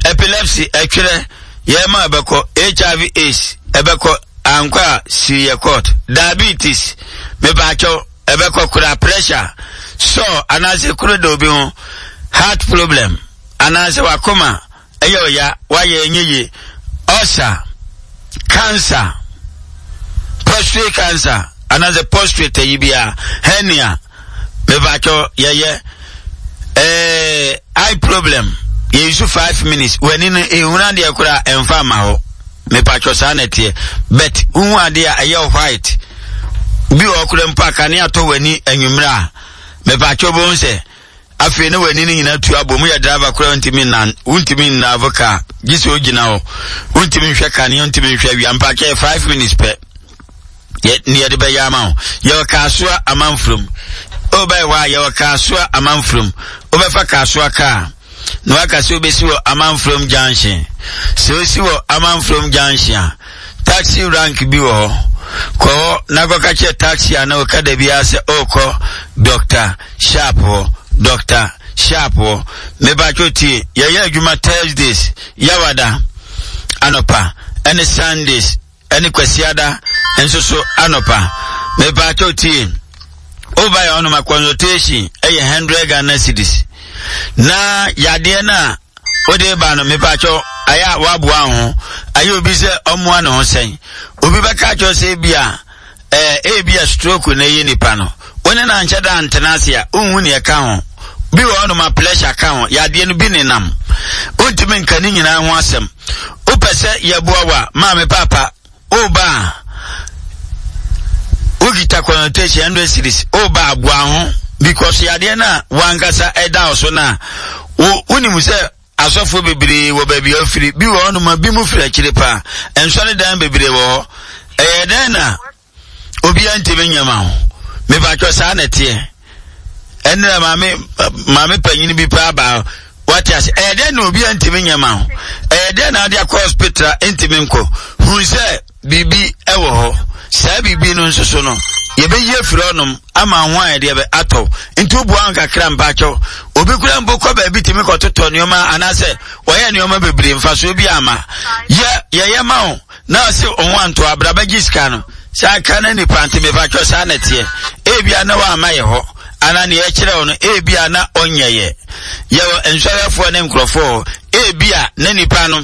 epilepsy ɛtwerɛ yɛma ɛbɛkɔ hiv aids ɛbɛkɔ ankɔ a si yɛ court diabetes mepatwɛ Ɛbɛkɔ koraa. Pressure sɔ anaasɛ kuro da obi ho, heart problem anaasɛ wakoma ɛyɛ ɔya, wayɛ ɛnyɛ yie, ulcer, cancer, prostate cancer anaasɛ prostate ayi biara, hernia, mepakyɛw yɛyɛ ɛɛ eye problem, yɛyi five minutes, w'ani no ehunu adeɛ koraa ɛnfa ma hɔ. Mepakyɛw, saa na ɛteɛ, but wohu adeɛ a ɛyɛ white bi wɔ kora mpo a kanea tɔ w'ani anwummerɛ a, mepakyɛw, bɛhu sɛ afei ne w'ani no nyinaa tu abɔ mu. Yɛ driver koraa, wontumi nnan, wontumi nnave car gye sɛ ogyina hɔ, wontumi nhwɛ kanea, wontumi nhwɛ awia. Mpakyɛ, yɛ five minutes pɛ yɛ ne yɛde bɛyɛ ama wo. Yɛwɔ Kaasoa Amanfurom. Wobɛyɛ hɔ a, yɛwɔ Kaasoa Amanfurom. Wobɛfa Kaasoa kaa na waka sɛ wobɛsi wɔ Amanfurom Junction. Sɛ wosi wɔ Amanfurom Junction a, taxi rank bi wɔ hɔ, kɔ hɔ na kɔka kyerɛ taxi a na wɔka da biara sɛ ɔrekɔ Doctor Sharp hɔ, Doctor Sharp hɔ. Mebatwo, tie, yɛyɛ adwuma Thursdays, Yawada anɔpa, ɛne Sundays ɛne Kwasiada nso so anɔpa. Mebatwo, tie, woba yɛ hɔnom a, consultation ɛyɛ hundred Ghana cedis, na yadeɛ no a wode ba no, mepakyɛw, ayɛ a waboa ho ayɛ obi sɛ ɔmmoa ne ho sɛn. Obi bɛka kyerɛ sɛ ebi a ɛɛ ebi a stroke na ɛyɛ nipa no, wo ne na nkyɛ da ntena ase a, wonhu nea ɛka ho. Bi wɔ hɔnom a pressure ka ho, yadeɛ no bi nenam, wontumi nka ne nyinaa ho asɛm. Wopɛ sɛ yɛboa wo a, maame, papa, woba a, wokita consultation hundred cedis, woba aboa ho because yadeɛ no a wankasa ɛda wo so no a, wo wonim sɛ asɔfoɔ bebree wɔ baabi a wofiri bi wɔ hɔnom a bi mu firi akyire paa, nsɔre bebree wɔ hɔ. Ɛyɛ dɛn na obiara ntumi nyɛ ma ho? Mebatwɛ, saa na ɛteɛ. Ɛnna maame maame panyin bi paa baa, wate ase. Ɛyɛ dɛn na obiara ntumi nyɛ ma ho? Ɛyɛ dɛn na ade akɔ hospital a ntumi nkɔ hu sɛ biribi ɛwɔ hɔ? Saa biribi no nso so no, yɛbɛyi afiri hɔnom ama ho a yɛde bɛ atɔ. Nti woboa nkakra, mpakyɛw, obi kura mpo kɔ baabi tumi kɔtotɔ nneɛma anaasɛ wɔyɛ nneɛma bebree, mfasoɔ bi ama yɛ yɛyɛ ma wo na ɔsɛ ɔho anto abra bɛgye sika no saa ka na nipa. Nti mepakyɛw, saa na ɛteɛ. Ebia na wama yɛ hɔ anaa nea ɛkyerɛ wo no, ebia na ɔnyɛ yɛ. Yɛwɔ nsɔrɛfoɔ ne nkurɔfoɔ, ebia na nipa no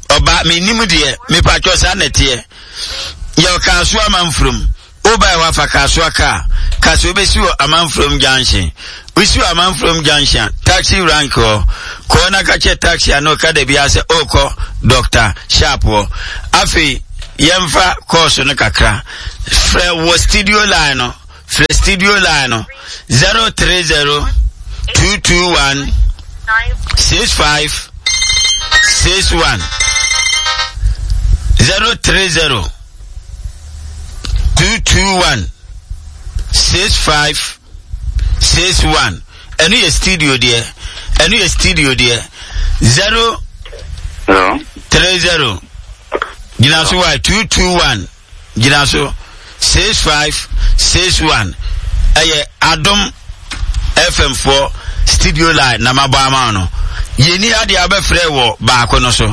ɔba menim deɛ. Mepakyɛw, saa na ɛteɛ. Yɛwɔ Kaaso Amanfurom. Wobae wafa Kaasoa kaa kasa, wobɛsi wɔ Amanfurom Junction. Wosi wɔ Amanfurom Junction a, taxi rank hɔ, kɔɔ na ka kyerɛ taxi a na ɔka da biara sɛ ɔrekɔ Doctor Sharp hɔ. Afei yɛmfa kɔɔso no kakra. Frɛ wɔ studio line no, frɛ studio line no zero three zero two two one six five six one, zero three zero two two one six five six one. Ɛno yɛ studio deɛ, ɛno yɛ studio deɛ, zero three zero gyina so wa two two one gyina so six five six one. Ɛyɛ Adom F M foɔ studio line na mabɔ ama no. Yɛni adeɛ a wobɛfrɛ wɔ baako no so.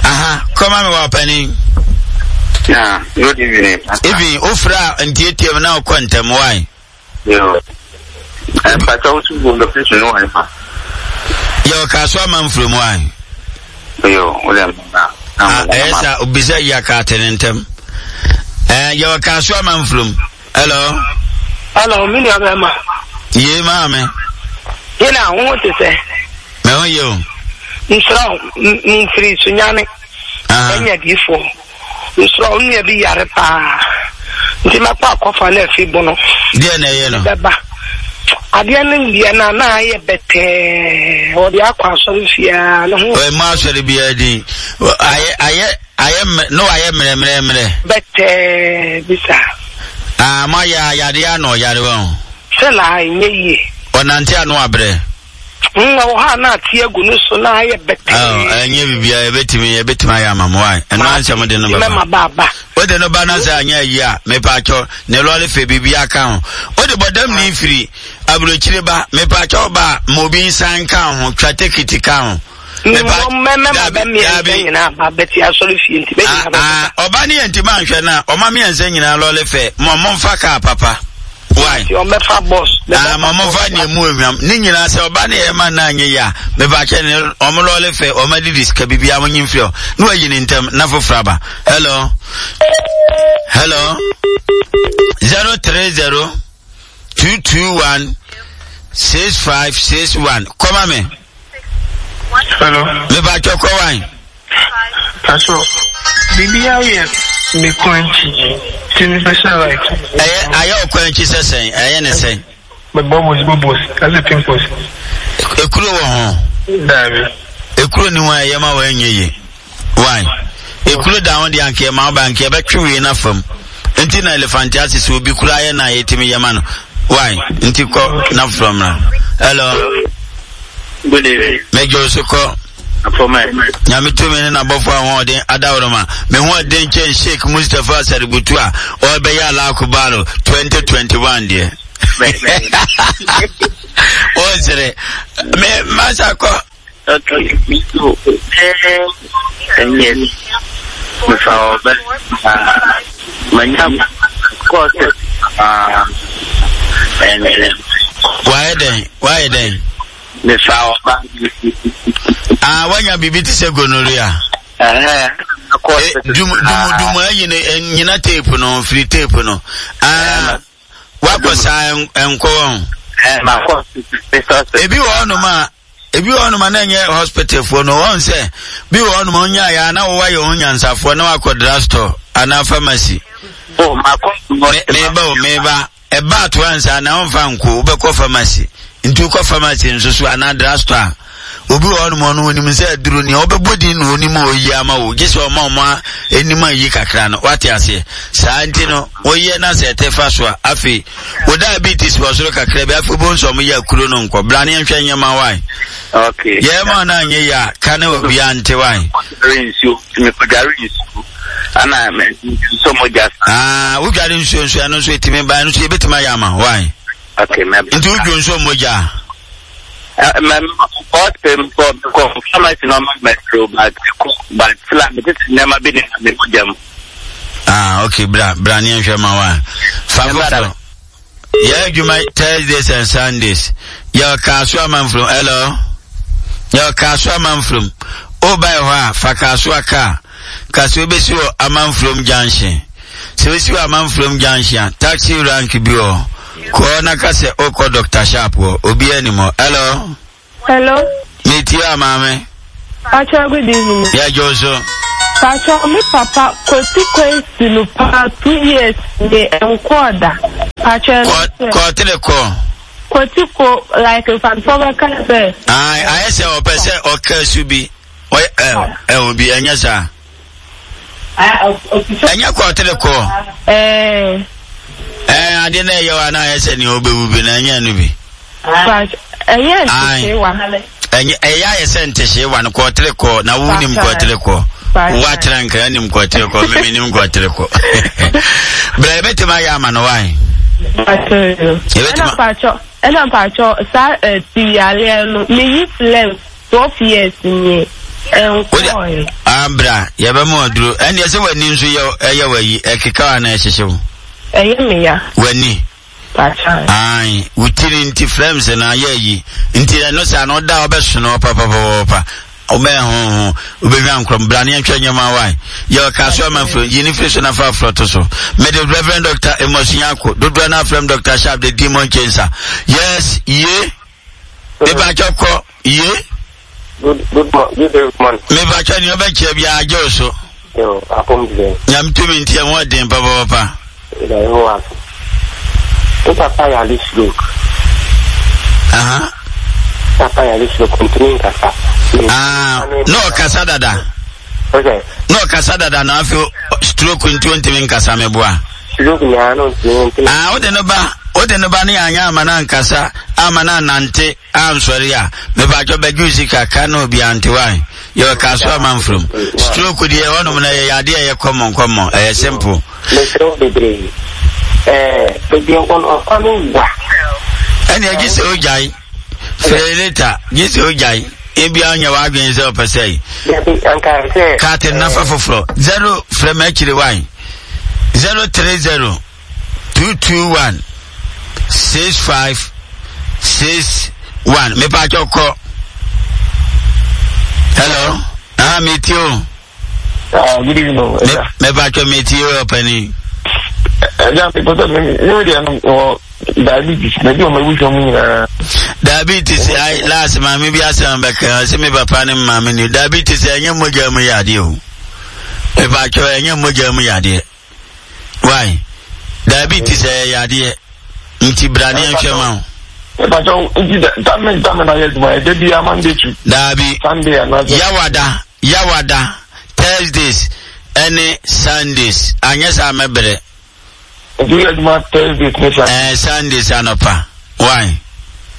Aha, kɔma me wɔ panin. Yeah, good evening. Evening, wofrɛ a ntiatia mu na wokɔ ntɛm wae. Yo. Eh, Pastor, wo so location no wɔ fa? Yɛwɔ Kaaso Amanfurom wae. Yo, wo dem na. Ɛyɛ sa obisa yi akaate ne ntɛm. Eh, yɛwɔ Kaaso Amanfurom. Hello. Hello, mi nua bɛrima. Yee, maame. Yena, wo ho te sɛ? Me ho yɛ o. Nsrɛ wo, mfiri Sunyane. Ɛnyɛ diifoɔ. Nsrɛ wo, nua bi yare paa. Nti mɛkɔ akɔfa no afi Bono. Deɛ na ɛyɛ no? Bɛba. Adeɛ no deɛ na na ayɛ bɛtɛɛ. Wɔde akɔ asɔre fiaa ne ho. Ɔyɛ mu asɔre biara din. Ayɛ ayɛ ayɛ mmerɛ na wayɛ mmerɛmmerɛmmerɛ. Bɛtɛɛ bi saa. Aa, mo ayɛ ayadeɛ ano ɔyare wɔn. Sɛ na ɛnyɛ yie. Ɔnante ano abrɛ. Mm, wɔ hɔ a na ate agu no so na ayɛ bɛtɛɛ. Ɛnyɛ biribiara, yɛbɛtumi yɛbɛtumi ayɛ ama mo wae. Ɛno ansɛm de no bɛba. Mɛma baaba. Wode no ba no sɛ anyɛ ayi a, mepaakyɛw, ne lɔre fɛ biribiara ka ho. Wode bɔdam ne firi aburokyire ba, mepaakyɛw, ba a ma obi nsan ka ho, twa tekiti ka ho. Ɔba ne yɛ ntimi anhwɛ no a, ɔma mmiɛnsa nyinaa lɔre fɛ ma momfa kaa papa. Why? Nti ɔmɛfa bɔs. Ah, ma ɔmɔfa nea mu ehwam. Ne nyinaa sɛ ɔba ne yɛ ma na anyɛ yie a, mepakyɛ ne ɔmo lɔɔre fɛ, ɔmo adidi sika biribiara mo nyi mfiri hɔ. Na wayi ne ntɛm na foforɔ aba. Hello. Hello. Zero three zero two two one six five six one. Kɔma me. Hello. Mepakyɛ kɔ wan. Paso, biribi ayɛ me kwan akyi nti mepɛ sɛ like. Ɛyɛ ayɛ wo kwan akyi sɛ sɛn? Ɛyɛ ne sɛn? Me bubbles bubbles ɛsɛ pimples. Ekuro wɔ ho? Daabi. Ekuro ni ho a ɛyɛ ma wɔn nyɛ yie. Why? Ekuro da ho deɛ anka ɛma wo ba anka ɛbɛtwe wei na fam. Nti na elephantiasis obi kura ayɛ na yɛtumi yɛ ma no. Why? Nti kɔ na foforɔ mmra. Hello. Good evening. Mɛgye wo so kɔ. Nyame tumi ne n'abɔfo ahoɔden adaworoma. Me ho ɔden kyɛn Sheikh Mustapha Saributu a ɔrebɛyɛ Alakubaro twenty twenty one deɛ. Ɔsere. Me masa kɔ. Okay, me too. Ten years. Mefa ɔbɛ. Manya kɔɔse. Wayɛ dɛn? Wayɛ dɛn? Mefa ɔba. Ah, wanya biribi te sɛ gonorrhea. Ɛhɛn. Eh, dum dum dum ayi no eh, nyina tape no firi tape no. Ah, wakɔ saa nkɔ wɔn. Ebi wɔ hɔnom a ebi wɔ hɔnom a na ɛnyɛ hospital foɔ no wɔn sɛ bi wɔ hɔnom a onyaa ya na wɔwɔ ayɛ ho nyansafoɔ na wakɔ drugstore anaa pharmacy. Oh, makɔ. Meba o meba. Ɛba ato ansa na ɔmfa nko, wobɛkɔ pharmacy. Nti wokɔ pharmacy nso so anaa drugstore a, obi wɔ hɔnom ɔno onim sɛ aduro nea ɔbɛbɔ din na onim a oyi ama wo, gye sɛ ɔma ɔmo anim ayi kakra no, wate aseɛ. Saa nti no, woyɛ na sɛ ɛte fa so a, afei wo diabetes wɔ soro kakra bi, afei wobɛhu sɛ ɔmo yɛ akuro no nkɔ. Bra ne yɛnhwɛ nneɛma wae. Okay. Yɛn ma no anyɛ yie a, ka ne obiara nte wae. Nsuo, mekɔdware nsuo. Ana nsɔ mogya sa. Ah, wodware nsuo nso ɛno nso ɛtumi ba ɛno nso yɛbɛtumi ayɛ ama why? Okay, mɛ. Nti wodwo nsuo mogya? Mɛ ɔsɛ mkɔ mkɔ pharmacy na ɔma mɛtro but but sila metete nneɛma bi ne me mogya mu. Ah, okay, bra bra ne nhwɛ ma wa. Fa foforɔ. Yɛ adwuma Thursdays and Sundays. Yɛ Kasoa Manfrom. Hello. Yɛ Kasoa Manfrom. O ba hɔ a fa Kasoa kaa. Kasoa bɛsi wɔ Amanfrom Junction. Sɛ wosi wɔ Amanfrom Junction a, taxi rank bi wɔ hɔ. Kɔɔ na ka sɛ wokɔ Doctor Sharp hɔ. Obiara nim hɔ. Hello. Hello. Me tie a maame. Pacho good evening. Yeah, Joso. Pacho me papa kwati kwesi no pa two years ne nkɔ da. Pacho kɔtere kɔ. Kwati ko like mfanfo bɛka sɛ. Ayi ayɛ sɛ ɔpɛ sɛ ɔka su bi ɔyɛ ɛ ɛwɔ bi ɛnyɛ saa. Ɛnyɛ kɔtere kɔ. Ɛɛ. Ɛɛ ade na ɛyɛ wa na ayɛ sɛ nea ɔbɛwu bi na ɛnyɛ no bi. Ɛyɛ ntehyewa. Ɛnyɛ ɛyɛ ayɛ sɛ ntehyewa no kɔtere kɔ na wo nim kɔtere kɔ. Woatena nkra nim kɔtere kɔ mimi nim kɔtere kɔ. Bra yɛbɛtumi ayɛ ama no wae. Ɛna mpakyɛ ɛna mpakyɛ saa ɛti yareɛ no meyi phlegm twelve years nie ɛnkɔɛ. Abra yɛbɛma ɔduro ɛndeɛ sɛ w'ani nso yɛ ɛyɛ w'ayi ɛkeka wa na ɛhyehye wo. Ɛyɛ me ya. W'ani. Ae, wo tiri nti flames no ayɛ ayi. Nti ɛno saa no ɔda a ɔbɛsono papapapapa. Ɔbɛyɛ ho ho, wobɛhwa nkorɔm. Bra ne yɛnhwɛ nneɛma wae. Yɛ ɔka so ama mfiri, yi ne firi so na fa aforɔ to so. Mede Reverend Doctor Amos Nyarko, dodoɔ no afrɛm Doctor Sharp, the demon chaser. Yes, ye. Mepakyɛ kɔ, ye. Good, good, good morning. Mepakyɛ nea ɔbɛkyerɛ biara gye wo so. Yo, apom deɛ. Nyame tumi nti ɛho ɔden papapapa. Ɛda ɛho ase. Me papa yare stroke. Aha. Papa yare stroke, ntumi nkasa. Ah, na ɔkasa dada. Okay. Na ɔkasa dada na afei stroke nti ɔntumi nkasa meboa. Stroke na ano ntumi ntumi. Ah, wode no ba, wode no ba ne anyɛ ama no ankasa, ama no anante. Ansɔre a, mepatwɔ bɛgye wo sika ka na obi ante wae. Yɛ ɔka so amanfrom. Stroke deɛ ɛhɔnom no ɛyɛ yadeɛ ɛyɛ common common, ɛyɛ simple. Mesrɛ wo bebree. Ɛɛ, baabi a ɔwɔ no ɔkwan no wa. Ɛnna gye sɛ ogyae. Frɛ later, gye sɛ ogyae. Ebia ɔnyɛ w'adwene sɛ ɔpɛ sɛ. Dabi, anka sɛ. Kaate nafa foforɔ. Zero frɛ m'akyire wae. Zero three zero. Two two one six five six one. Mepatwɔ kɔ. Hello. Ah, metie o. Ah, good evening. Mepatwɔ metie o, ɔpani. Ɛgya mepɛ sɛ me deɛ no wɔ diabetes na bi wɔ m'abusua mu nyinaa. Diabetes ai last maame bi asɛm bɛka sɛ me papa ne maame ni diabetes ɛnyɛ mogya mu yadeɛ o. Mepatwɔ ɛnyɛ mogya mu yadeɛ. Why? Diabetes ɛyɛ yadeɛ nti bra ne yɛnhwɛ ma wo. Mepatwɔ nti tame tame na yɛ adwuma ɛda bi Monday to Daabi. Sunday anaasɛ. Yawada Yawada Thursdays ɛne Sundays anyɛ saa mɛbrɛ. Nti woyɛ adwuma Thursdays ne Sundays. Ɛɛ Sundays anɔpa. Why?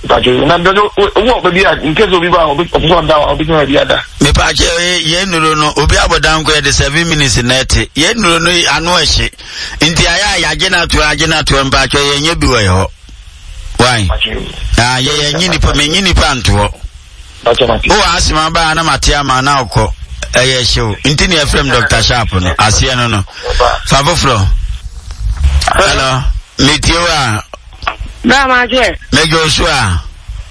Mpakyɛ na dɔdɔ wowɔ baabi a in case obi ba a ɔpɛ sɛ ɔda a ɔbɛtumi baabi ada. Mepakyɛ yɛn nnuro no obi abɔda nko yɛde seven minutes na ɛte yɛn nnuro no ano ɛhye nti ayɛ a yɛagye no atoɔ agye no atoɔ mpakyɛ yɛnyɛ bi wɔ yɛ hɔ. Why? Ah, yɛ yɛnyi nipa menyi nipa ntoɔ. Wowɔ asɛm aba a na mate ama na wokɔ ɛyɛ hyew nti ne yɛfrɛ m Dr. Sharp no aseɛ no no fa foforɔ. Hello, metie wo a. Bra ma gye. Megye wo so a.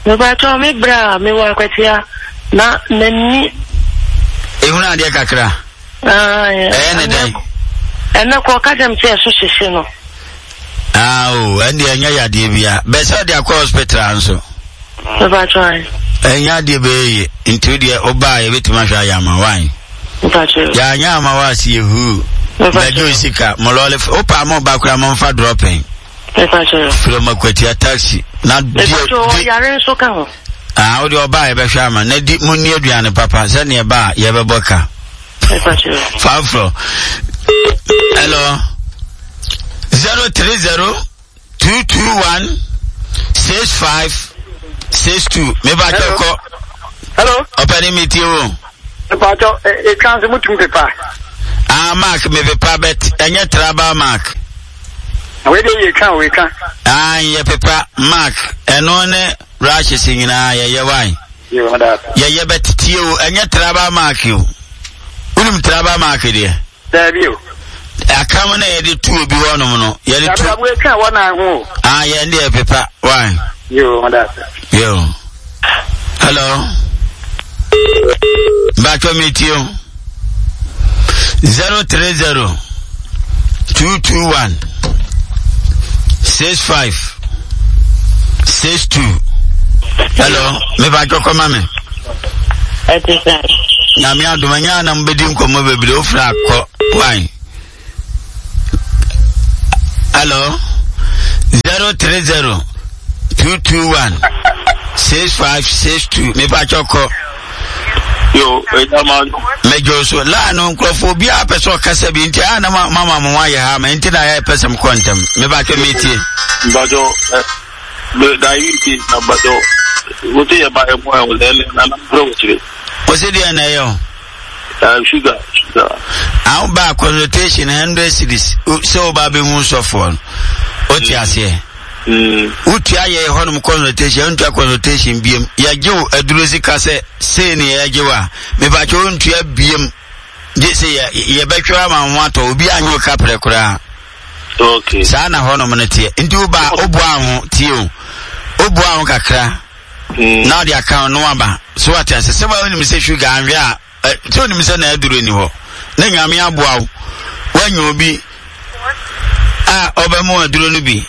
Mepakyɛw me bra mewɔ akwatia na n'ani. Ehunu adeɛ kakra. Ɛyɛ ne dɛn? Ɛnɛ kɔ ɔka kyerɛ me sɛ ɛso hyehye no. Ah o, ɛnde ɛnyɛ yadeɛ bia. Bɛ sɛ ɔde akɔ hospital nso. Mepakyɛw ayi. Ɛnyɛ adeɛ bɛyɛ yie. Nti wo deɛ wobaa yɛbɛtumi ahwɛ ayɛ ama wan. Mepakyɛw. Yɛanyɛ ama wo ase yɛ huu. Mepakyɛw. Bɛgye wo sika. Mo lɔɔre wopaa mo ba koraa momfa dropping. Mepakyɛw. From Akwatia taxi. Na di Mepakyɛw ɔyare nso ka ho. Ah, wo deɛ ɔbaa yɛbɛhwɛ ama. Na di mo nni aduane papa sɛdeɛ ɛba a yɛbɛbɔ ka. Mepakyɛw. Faforɔ. Hello. Zero three zero two two one six five six two. Mepakyɛw kɔ. Hello. Ɔpɛni mi tie o. Mepakyɛw etwa nso mutum pepa. Ah, Mark me pepa bet ɛnyɛ tribal mark. Wei de yɛ twa wei twa. Ah, yɛ pepa mark ɛno ne rashes nyinaa yɛyɛ wan. Yɛyɛ bɛt tie o ɛnyɛ tribal mark o. Wonim tribal mark deɛ? Daabi o. Akam na yɛde tu obi hɔnom no yɛde tu. Dabi wei twa wɔ nan ho o. Ah, yɛn deɛ pepa wan. Yo, mada. Yo. Hello. Batwa mi tie o. Zero three zero two two one six five six two. Hello, me batwa kɔma me. Ɛte sɛ. Nyame adom ɛnyɛ anam bɛdi nkɔmmɔ bebree wofrɛ akɔ wan. Hello, zero three zero two two one six five six two. Mepa kyɔkɔ. Yo, ɛdama. Mɛjɔ so laa no nkurɔfoɔ obiara pɛ sɛ ɔkasa bi nti a na mama mo ayɛ ha ma nti na yɛ pɛ sɛ mkɔ ntɛm. Mepa kyɛ metie. Mbajɔ ɛ diabetes na mbajɔ wote yɛ ba ɛmu ɛ wòle ɛlɛ na na mpere wɔ kyerɛ. Wɔsi deɛ na ɛyɛ o. Uh, sugar, sugar. Awo ba consultation hundred cedis sɛ wo ba bɛ hu sɔfoɔ no o ti aseɛ. Wotua yɛ hɔnom consultation ntua consultation biem yɛgye wo aduro sika sɛ sei ne yɛgye wo a mepakyɛ wo ntua biem gye sɛ yɛbɛtwerɛ ama ho atɔ obi anyɛ wo kaprɛ koraa. Okay. Saa na hɔnom no teɛ nti wo ba woboa ho tie o woboa ho kakra na ɔde aka no aba so wate ase sɛ wonim sɛ sugar anhwɛ a sɛ wonim sɛ na aduro ni hɔ na nyame aboa wo woanya obi a ɔbɛmo aduro no bi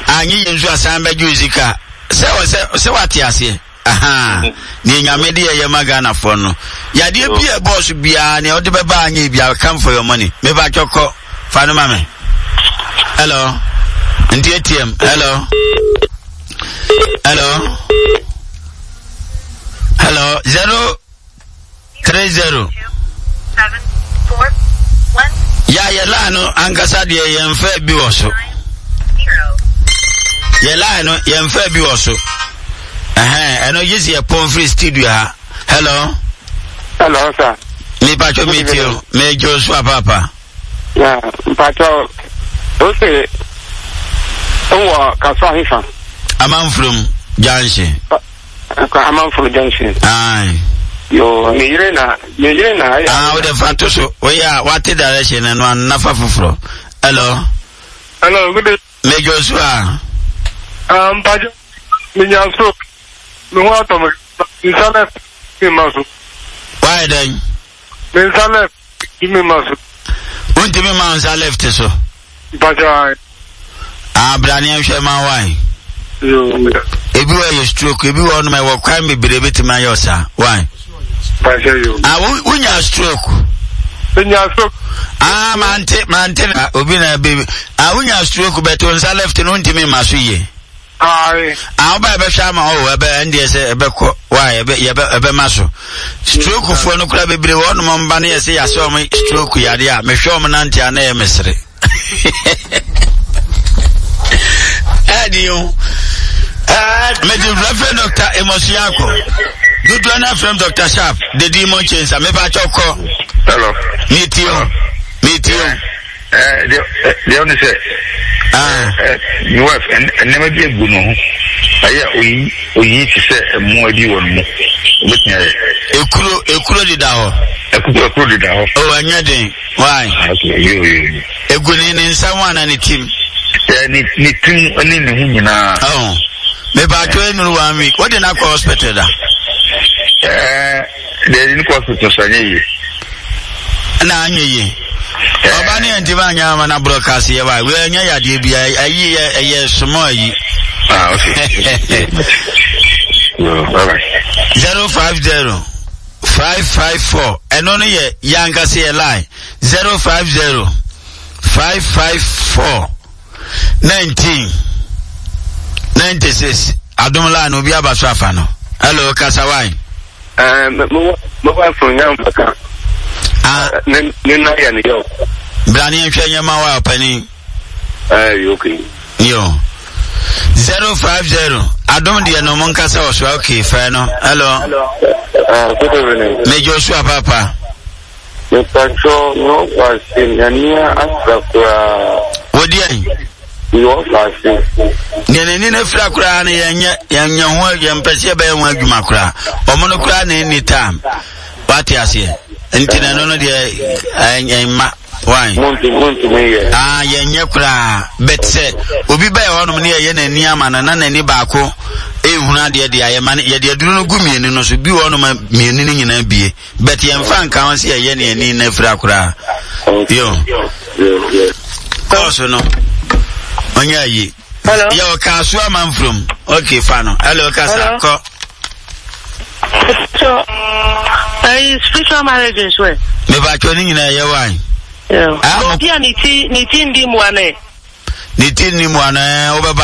anyɛ yɛ nso asan bɛgye wo sika sɛ sɛ sɛ wate aseɛ aha ne nyame de yɛyɛ ma Ghanafoɔ no yadeɛ bi a ɛbɔɔ so biara nea wode bɛba anyɛ bi a come for your money meba twɔkɔ fa no ma me. Hello, nti ATM. Hello, hello, hello, zero three zero. Seven, four, one. Ya yɛ line no ankasa deɛ yɛmfa bi wɔ so. Yɛ line no yɛmfa bi wɔ so. Ɛhɛn, ɛno gye sɛ yɛpɔn firi studio ha. Hello. Hello, sir. Mepatwo metie o. Megye wo so apaapa. Yeah, mpatwo o se wɔ kaso ahefa. Amanfurom junction. Amanfurom junction. Aye. Yo, me yere na, me yere na. Ah, wo de fa to so. Wo ya, wate direction no anafa foforo. Hello. Hello, good day. Me Joshua. Ah, mpakyɛ menya stroke. Me ho atɔ me. Me nsa left me ma so. Wayɛ dɛn? Me nsa left me ma so. Wontumi ma nsa left so. Mpakyɛ ae. Ah, bra ne nhwɛ ma wae. Ebi wɔ yɛ stroke, ebi wɔ ɔnom ɛwɔ kwan bebree betumi ayɛ ɔsa. Wae. Mpakyɛ yo. Ah, wonya stroke. Menya stroke. Ah, mante, mante na obi na bi. Ah, wonya stroke bɛto nsa left no ntumi ma so yie. Ae. Ah, woba ɛbɛhwɛ ama ɔwɔ ɛbɛ ɛndeɛ sɛ ɛbɛkɔ wae ɛbɛ yɛbɛ ɛbɛma so. Stroke foɔ no kora bebree wɔ ɔnom mba no yɛ sɛ yɛasɛ ɔmo stroke yadeɛ a mehwɛ ɔmo nante a na ɛyɛ mesere. Ɛdi o. Mede Reverend Doctor Amos Yako. Dodoɔ no afrɛm Doctor Sharp. The Demon Chaser. Mepa kyɛw kɔ. Hello. Metie o. Metie o. Deɛ ɔne sɛ me wife nneɛma bi agu ne ho ɛyɛ oyi oyi te sɛ mmoa bi wɔ ne mu obetumi ayɛ. Ekuro ekuro deda hɔ. Ekuro ekuro deda hɔ. O ɛnyɛ den why. Ah, okay yo yo yo. Egu ne ne nsa ho ana ne tim. Ɛ ne ne tim ne ne ho nyinaa. Ɔn mepaatwo enuru one week o de na kɔ hospital da. Ɛɛ. Deɛ ne kɔ hospital so anyɛ yie. Na anyɛ yie. Ɔba ne yɛn ntoma anyɛ ama na broadcast yɛ wa wei ɛnyɛ yadeɛ bi ayi yɛ ɛyɛ small ayi. Ah okay. Zero five zero five five four ɛno no yɛ yankasa yɛ line zero five zero five five four. nineteen ninety six adum line obi aba so afa no hello kasa wan. Eh, mo wife nya mbaka. Ah. Ne ne na yɛ ne yɛ. Bra ne nhwɛ nyɛ ma wa ɔpanin. Eh, okay. Yo. Zero five zero. Adum deɛ no mo nkasa wɔ so okay fɛ no. Hello. Hello. Uh, good evening. Me Joshua Papa. Mepakyɛw, me wɔfaase, n'ani afira koraa. Wo deɛn? Me wɔfaase. Deɛ n'ani no afira koraa no yɛnyɛ yɛnyɛ ho yɛmpɛ sɛ yɛbɛyɛ ho adwuma koraa. Ɔmo no koraa na ɛnni time. Wate aseɛ? Nti na ɛno no deɛ ɛmma. Why? Montumi yɛ. Ah, yɛnyɛ koraa. But sɛ obi bɛyɛ hɔnom ne yɛyɛ n'ani ama no na n'ani baako ehunu adeɛ deɛ ayɛ ma no yɛde aduro no gu mmienu no so bi wɔ hɔnom mmienu no nyinaa bie. But yɛmfa nka ho sɛ yɛyɛ ne ani no afira koraa. Yo. Kɔɔso no, ɔnyɛ ayi. Yɛ ɔka so ama mfurom. Okay, fa no. Hello, kasa, kɔ. So, uh, spiritual marriage nso ɛ. Mebatwa ne nyinaa yɛ wan. Obi a ne ti ne ti ndi mua no ɛ. Ne ti ndi mua no ɛ, wobɛba.